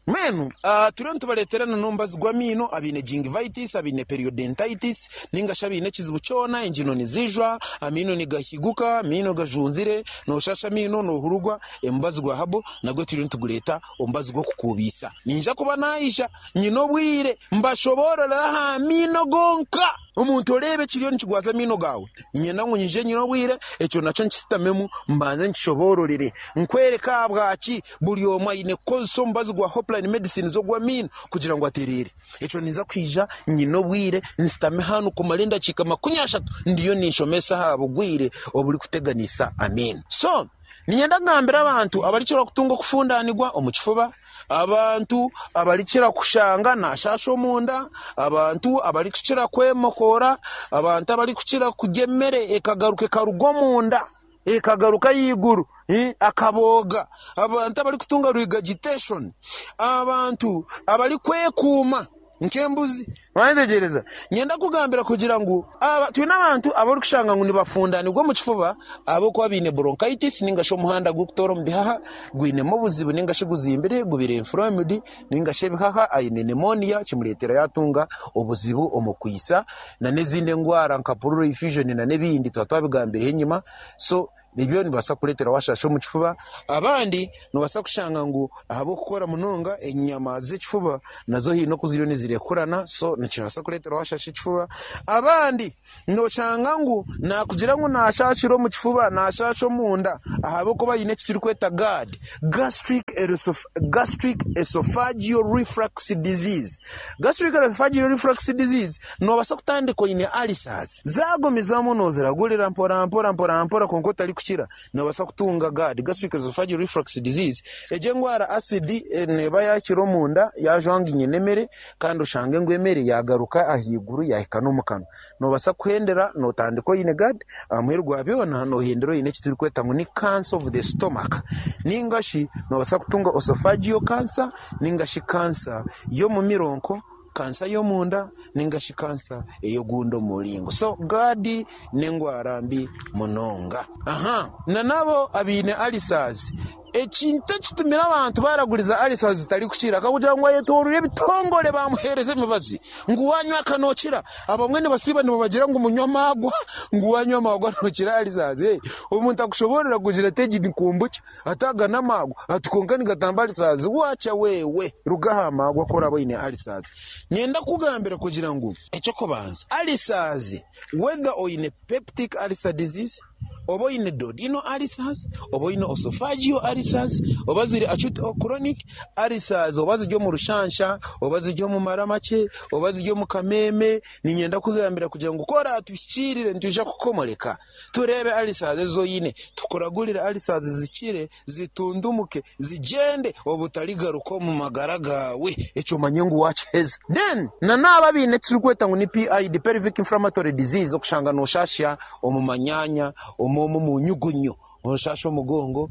Mbwenu turiyo nitubareetera na n'omubazi gw'amaino abaine gingivitis, abaine periodontitis ninga shi abaine ekizibu kyona engyino nizijwa, amaino nigahiguka, amaino gajunzire, nooshasha amaino, noohurugwa, omubazi gwa herbal nagwo turiyo nitugureeta omubazi gw'okukuubiisa. Niinyija kuba naija nyine obwire mbashoboororere aha maino gonka. Omuntu oreeba ekiriyo nikigwaza amaino gaawe, niinyenda ngu nyije nyine obwire, ekyo nakyo nkisitamemu mbanze nkishoboororere, nkwereke ahabwaki buri omwe aine kukozesa omubazi gwa Hopeline Medicines ogw'amaino kugira ngu atereere. Ekyo ninza kwija nyine obwire nsitame hanu kumara endakiika 30 ndiyo ninshomesa aha bugwire oburikuteganisa amaino. So. Niinyenda kugambira abantu abarikira kutunga okufundanirwa omu kifuba, abantu abarikira kushanga nashasha omunda, abantu abarikukira kwemokoora, abantu abarikukira kurya emere ekagaruka ekaruga omunda ekagaruka ahaiguru akabooga, abantu abarikutunga regurgitation, abantu abarikwekuuma nk'embuzi. Wayetegyereza? Niinyenda kugambira kugira ngu twine abantu abarikushanga ngu nibafundanirwa omu kifuba ahabw'okuba baine bronchitis ninga shi omuhanda gurikutoora omu bihaha gwinemu obuzibu ninga shi guzimbire gubire inflamed ninga shi ebihaha aine pneumonia kimureetera yatunga obuzibu omu kwitsa n'ezindi endwara nka pleural effusion n'ebindi tuba twabigambireho enyima. So ebyo nibibaasa kukureetera waashasha omu kifuba. Abandi noobaasa kushanga ngu ahabw'okukora munonga enyama z'ekifuba nazo haine oku ziriyo nizirekurana so nikibaasa kureetera waashasha ekifuba. Abandi nooshanga ngu naakugira ngu naashashira omu kifuba, naashasha omunda ahabw'okuba aine eki turikweta GERD, Gastric Esophageal Reflux Disease. Gastric Esophageal Reflux Disease noobaasa kutandika oine ulcers, zaagumizamu nooziragurira mpora mpora mpora mpora kwonka otarikukira, noobaasa kutunga GERD, Gastric Esophageal Reflux Disease. Egyo endwara acid neeba yaakira omunda yaajwanginya n'emere kandi oshange ngu emere yaagaruka ahaiguru yaahika n'omu kanwa. Noobaasa kuhendera nootandika oine GERD, aha muheru gwa byona noohendera oine eki turikweta ngu ni cancer of the stomach ninga shi noobaasa kutunga esophageal cancer ninga shi cancer y'omu mironko, kansa y'omunda ninga shi kansa ey'ogundi omuringo. So GERD n'endwara mbi munonga. Aha n'abo abaine ulcers, ekintu ekitumire abantu baraguriza ulcers zitarikukira akakugira ngu ayetooroire ebitongore bamuheereza emibazi ngu wanywa aka nookira. Abamwe nibasiiba nibabagira ngu munywe amaagwa ngu wanywa amaagwa nookira ulcers. Omuntu akushoboorora kugira ati egi ni kombucha ati aga n'amaagwa ati kwonka nigatamba ulcers. Waakya wewe ruga aha maagwa ku oraabe oine ulcers. Niinyenda kukugambira kugira ngu eky'okubanza ulcers whether oine peptic ulcer disease, oba oine duodenal ulcers, oba oine esophageal ulcers, oba ziri acute or chronic ulcers, oba ziri omu rushansha, oba ziri omu mara makye, oba ziri omu kameeme, niinyenda kukugambira kugira ngu ku oraatuhikiirire nitwija kukomoreka tureebe ulcers ezi oine, tukuragurire ulcers zikire, zitundumuke, zigyende obutarigaruka omu magara gaawe, ekyo omanye ngu waakiheza. Then n'abo abaine eki turikweta ngu ni PID, pelvic inflammatory disease, okushanga nooshasha omu manyaanya, omu omu nyugunyu, nooshasha omugongo,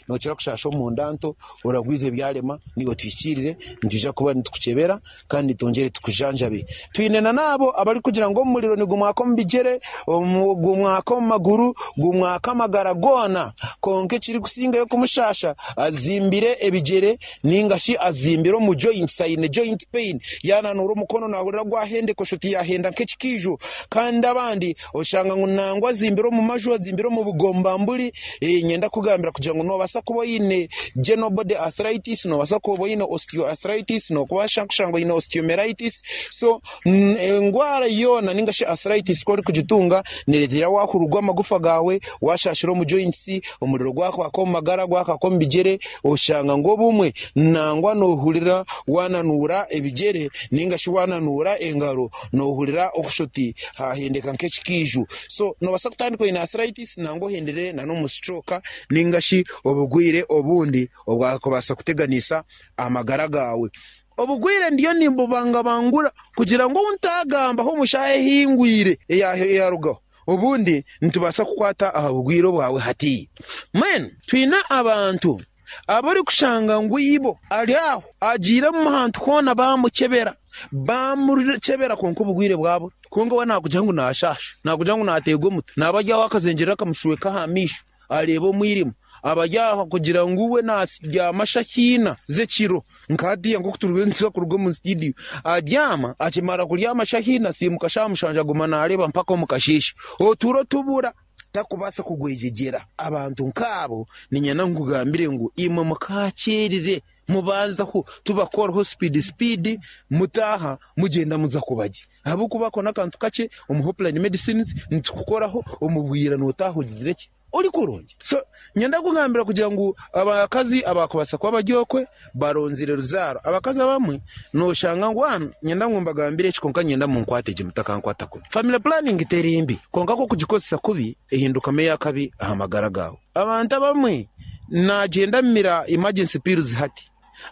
nookira kushasha omunda nto, oragwiza ebyarema, naiwe tuhikiirire, nitwija kuba nitukukyebera kandi twongyere tukujanjabe. Twine n'abo abarikugira ngu omuriro nigumwaka omu bigyere, gumwaka omu maguru, gumwaka amagara goona, kwonka ekirikusingayo kumushasha azimbire ebigyere ninga shi azimbire omu joints, aine joint pain, yaananuura omukono naahurira gwahendeka osha oti yaahenda nk'ekikiijo. Kandi abandi oshanga ngu nangwa azimbire omu maju, azimbire omu bugombamburi. Niinyenda kukugambira kugira ngu noobaasa kuba oine general body arthritis, noobaasa kuba oine osteoarthritis, noobaasa kushanga oine osteomyelitis. So endwara yoona ninga shi arthritis ku orikugitunga neereetera waahurugwa amagufa gaawe, waashashira omu joints, omuriro gwakwaka omu magara, gwakwaka omu bigyere, oshanga ngu obumwe nangwa noohurira waananuura ebigyere ninga shi waananuura engaro, noohurira okusha oti haahendeka nk'ekikiijo. So noobaasa kutandika oine arthritis nangwa ohendere n'omu stroke ninga shi obugwire obundi obwakubaasa kuteganisa amagara gaawe. Obugwire ndiyo nimbubangabangura kugira ngu obu ntaagambaho omu shaaha ehingwire eyarugaho, obundi nitubaasa kukwata aha bugwire obwawe hati. Mbwenu twine abantu abu orikushanga ngu ibo ari aho agiire omu hantu hoona baamukyebera, baamukyebera kwonka obugwire bwabura. Kwonka we naakugira ngu naashaasha, naakugira ngu naateegwa omutwe, naaba ari aho akazengyerera akamushweka aha maisho areeba omwirima. Aba ari aho kugira ngu we naabyama shaaha ina z'ekiro nka hatiiya nk'oku turiyo nituza kuruga omu situdiyo. Abyama, akimara kuryama shaaha ina asiimuka shaaha mushanju aguma naareeba mpaka omu kasheeshe. Oturo tubura, takubaasa kugwejegyera. Abantu nk'abo niinyenda nkugambire ngu imwe mukaakyerire mubanzaho tubakoreho sipiidi sipiidi mutaaha mugyenda muza kuba gye. Ahabw'okuba ako n'akantu kakye omu Hopeline Medicines nitukukoraho omu bwira nootaaha ogizire ki? Ori kurungi. So nyenda kugambira kugira ngu abakazi abakubaasa kuba bari okwe baronzire ruzaaro. Abakazi abamwe noshanga ngu nyenda ngu mbagambire eki kwonka nyenda munkwate gye mutakankwata kubi. Family planning teri mbi kwonka ku okugikozesa kubi ehindukamu ey'akabi aha magara gaawe. Abantu abamwe naagyenda amira emergency pills hati,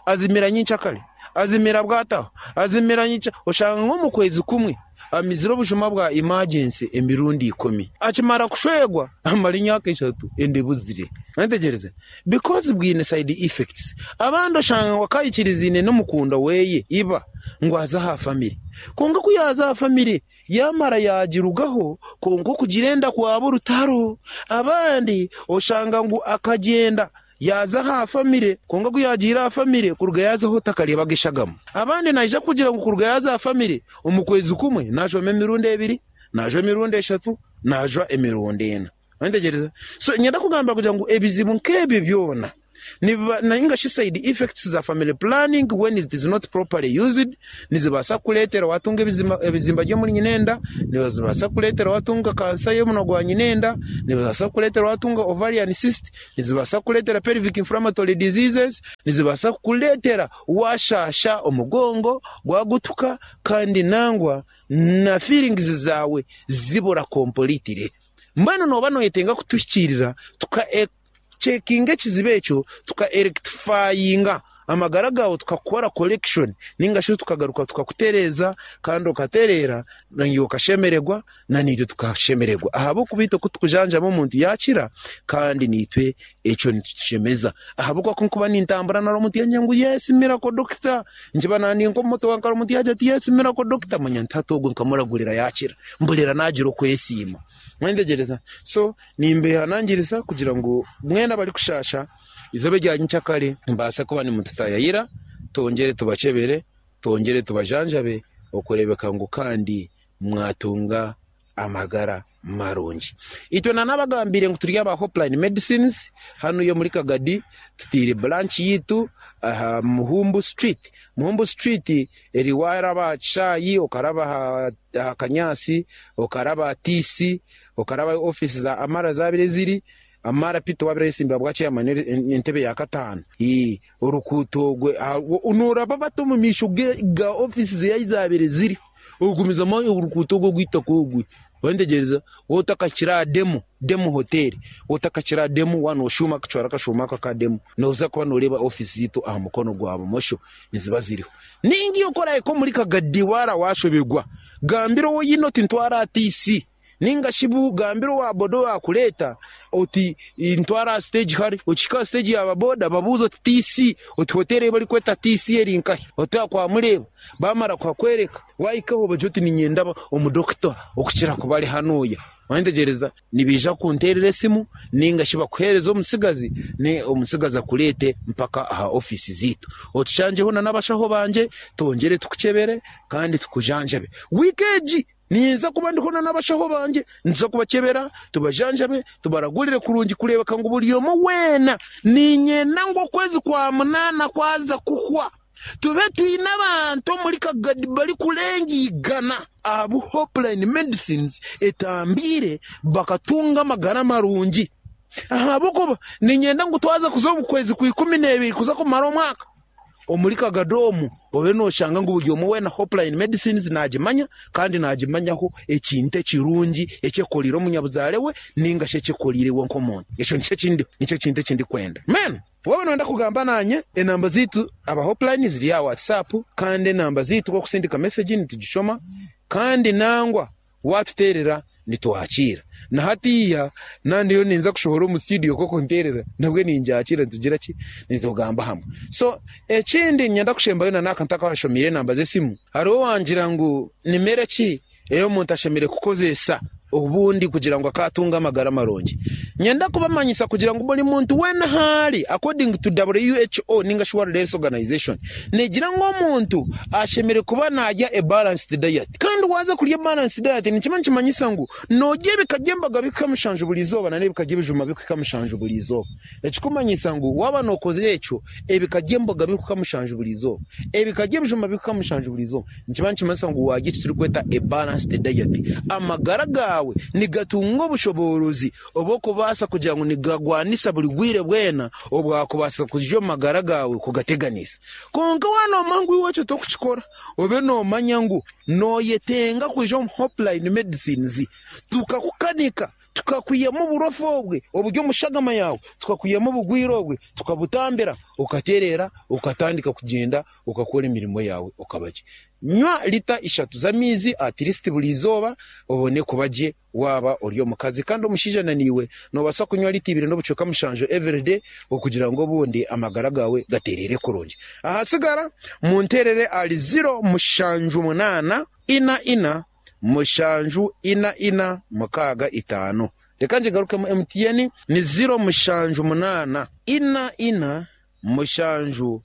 azimira nyenkyakare, azimira bwataho, azimira nyenkya, oshanga nk'omu kwezi kumwe amizire obujuma bwa emergency emirundi ikumi. Akimara kushwerwa amara emyaka eshatu enda ebuzire. Mwetegyereza? Because bwine side effects. Abandi oshanga ngu akaikirizaine n'omukundwa weye iba ngu aze aha family. Kwonka ku yaaza aha family yaamara yaagirugaho kwonka okugira enda kwaba orutaro. Abandi oshanga ngu akagyenda yaaza aha famire kwonka ku yaagiire aha famire kuruga yaazaho takareebaga eshagama. Abandi naija kugira ngu kuruga yaaza aha famire omu kwezi kumwe naajwamu emirundi ebiri, naajwa emirundi eshatu, naajwa emirundi ena. Mwetegyereza? So niinyenda kugamba kugira ngu ebizibu nk'ebyo byona nibiba nainga shi side effects za family planning when it is not properly used nizibaasa kukureetera waatunga ebizima ebizimba by'omuri nyinenda, nizibaasa kukureetera waatunga kansa y'omunwa gwa nyinenda, nibibaasa kukureetera waatunga ovarian cyst, nizibaasa kukureetera pelvic inflammatory diseases, nizibaasa kukureetera waashaasha omugongo gwagutuka kandi nangwa na feelings zaawe zibura completely. Mbwenu nooba nooyetenga kutuhikiirira tuka cekinga ekizibu ekyo, tuka erectifyinga amagara gaawe tukakukora correction ninga shi tukagaruka tukakutereeza kandi okatereera naiwe okashemererwa na naitwe tukashemererwa ahabw'okuba itwe ku tukujanjaba omuntu yaakira kandi naitwe ekyo nikitushemeza ahabw'okuba ku nkuba nintambura nari omuntu yangira ngu yes miracle doctor nkiba nandi nk'omu motoka nkare omuntu yaagira ati yes miracle doctor manya nti hati ogwo nkamuragurira yaakira mpurira naagira okwesiima. Mwetegyereza? So nimbehanangiriza kugira ngu mwena abarikushaasha eizooba erya nyenkyakare mubaase kuba nimututaayayira twongyere tubakyebere, twongyere tubajanjabe okureebeka ngu kandi mwatunga amagara marungi. Itwe nanabagambiire ngu turi aba Hopeline Medicines hanuya omuri Kagadi tutaire branch yaitu aha Muhumbu Street. Muhumbu Street eri waaraba aha kishaayi okaraba aha Kanyaasi okaraba aha TC okaraba ahu ofiisi za Amara zaabaire ziri, Amara Peter owaabaire ayetsimbire ahabwa chairman entebe ya kataano. Orukuuto orwe nooraba bati omu maisho ga ofiisi ze ahu zaabaire ziri ogumizamu orukuuto orwo orw'eitaka orwe Waayetegyereza? Waaba otakahikire aha Demo, Demo Hotel, waaba otakahikire aha Demo waaba nooshuuma akacwara akashuuma ako aka Demo, nooza kuba nooreeba ofiisi zaitu aha mukono gwa bumosho niziba ziriho. Nainga iwe ku oraahika omuri Kagadi waara waashoberwa, gambira ou oine oti ntwara aha TC, nainga shi gambira owa boda owaakureeta oti ntwara aha siteegi hari. Okihika aha siteegi ya baboda babuuze oti TC, oti hoteeri ei barikweta TC eri nkahi? Oti aha kwamureeba. Baamara kuhakworeka, waahikaho obagire oti niinyenda omudokita okukira kuba ari hanuya. Wayetegyereza? Nibaija kukunteerera esimu nainga shi bakuheereze omutsigazi, omutsigazi akureete mpaka aha ofiisi zaitu. Otushangyeho n'abashaho bangye twongyere tukukyebere kandi tukujanjabe. Wiiki egi ninza kuba ndiho n'abashaho bangye, nituza kubakyebera, tubajanjabe, tubaragurire kurungi kureebeka ngu buri omwe weena niinyenda ngu okwezi kwa munaana kwaza kuhwa tube twine abantu omuri Kagadi barikurenga igana abu Hopeline Medicines etambiire bakatunga amagara marungi. Ahabw'okuba niinyenda ngu twaza kuza omu kwezi kwa 12 kuza kumara omwaka omuri Kagadi omu obe nooshanga ngu buri omwe weena Hopeline Medicines naagimanya kandi naagimanyaho ekintu ekirungi eki ekoriire omunyabuzaare we nainga shi eki ekoriire iwe nk'omuntu. Ekyo nikyo eki nikyo kintu eki ndikwenda. Amen. Waaba nooyenda kugamba naanye, enamba zaitu aba Hopeline ziri aha WhatsApp kandi enamba zaitu ku orikusindika mesegi nitugishoma kandi nangwa waatuteerera nitwakiira. Na hatiiya naaba ndiyo ninza kushohora omu studio ku orikunteerera nabwo ningyakiira nitugira ki? Nitugamba hamwe. So ekindi niinyenda kushembayo na n'aka ntakabashomeire enamba z'esimu, hariho owangira ngu ni mere ki ei omuntu ashemereire kukozesa obundi kugira ngu akaatunga amagara marungi. Nyenda kubamanyisa kugira ngu buri muntu weena ahu ari, according to WHO ninga shi World Health Organization, neegira ngu omuntu ashemereire kuba naarya a balanced diet. Kandi waaza kurya a balanced diet nikiba nikimanyisa ngu noorya ebika by'emboga bikuhika mushanju buri izooba na n'ebika by'ebijuma bikuhika mushanju buri izooba. Ekikumanyisa ngu waaba nookoza ekyo, ebika by'emboga birikuhika mushanju buri izooba, ebika by'ebijuma birikuhika mushanju buri izooba, nikiba nikimanyisa ngu waarya eki turikweta a balanced diet. Amagara gaawe nigatunga obushoboorozi obw'okuba. kubaasa kugira ngu nigagwanisa buri bwire bwena obwakubaasa kwija omu magara gaawe kugateganisa. Kwonka waaba noomanya ngu iwe ekyo torikukikora, obe noomanya ngu nooyetenga kwija omu Hopeline Medicines tukakukanika, tukakwihamu oburofa obwe oburi omu shagama yaawe, tukakwihamu obugwire obwe, tukabutambira, okatereera, okatandika kugyenda okakora emirimo yaawe okaba gye. Nywa lita ishatu z'amaizi at least buri izooba obone kuba gye waaba ori omukazi. Kandi omushaija na naiwe noobaasa kunywa lita ibiri n'obucweka mushanju everyday okugira ngu obundi amagara gaawe gatereere kurungi. Ahasigara munteerere ahari ziro mushanju munaana ina ina mushanju ina ina mukaaga itaano. Reka ngigarukemu MTN ni ziro mushanju munaana ina ina mushanju.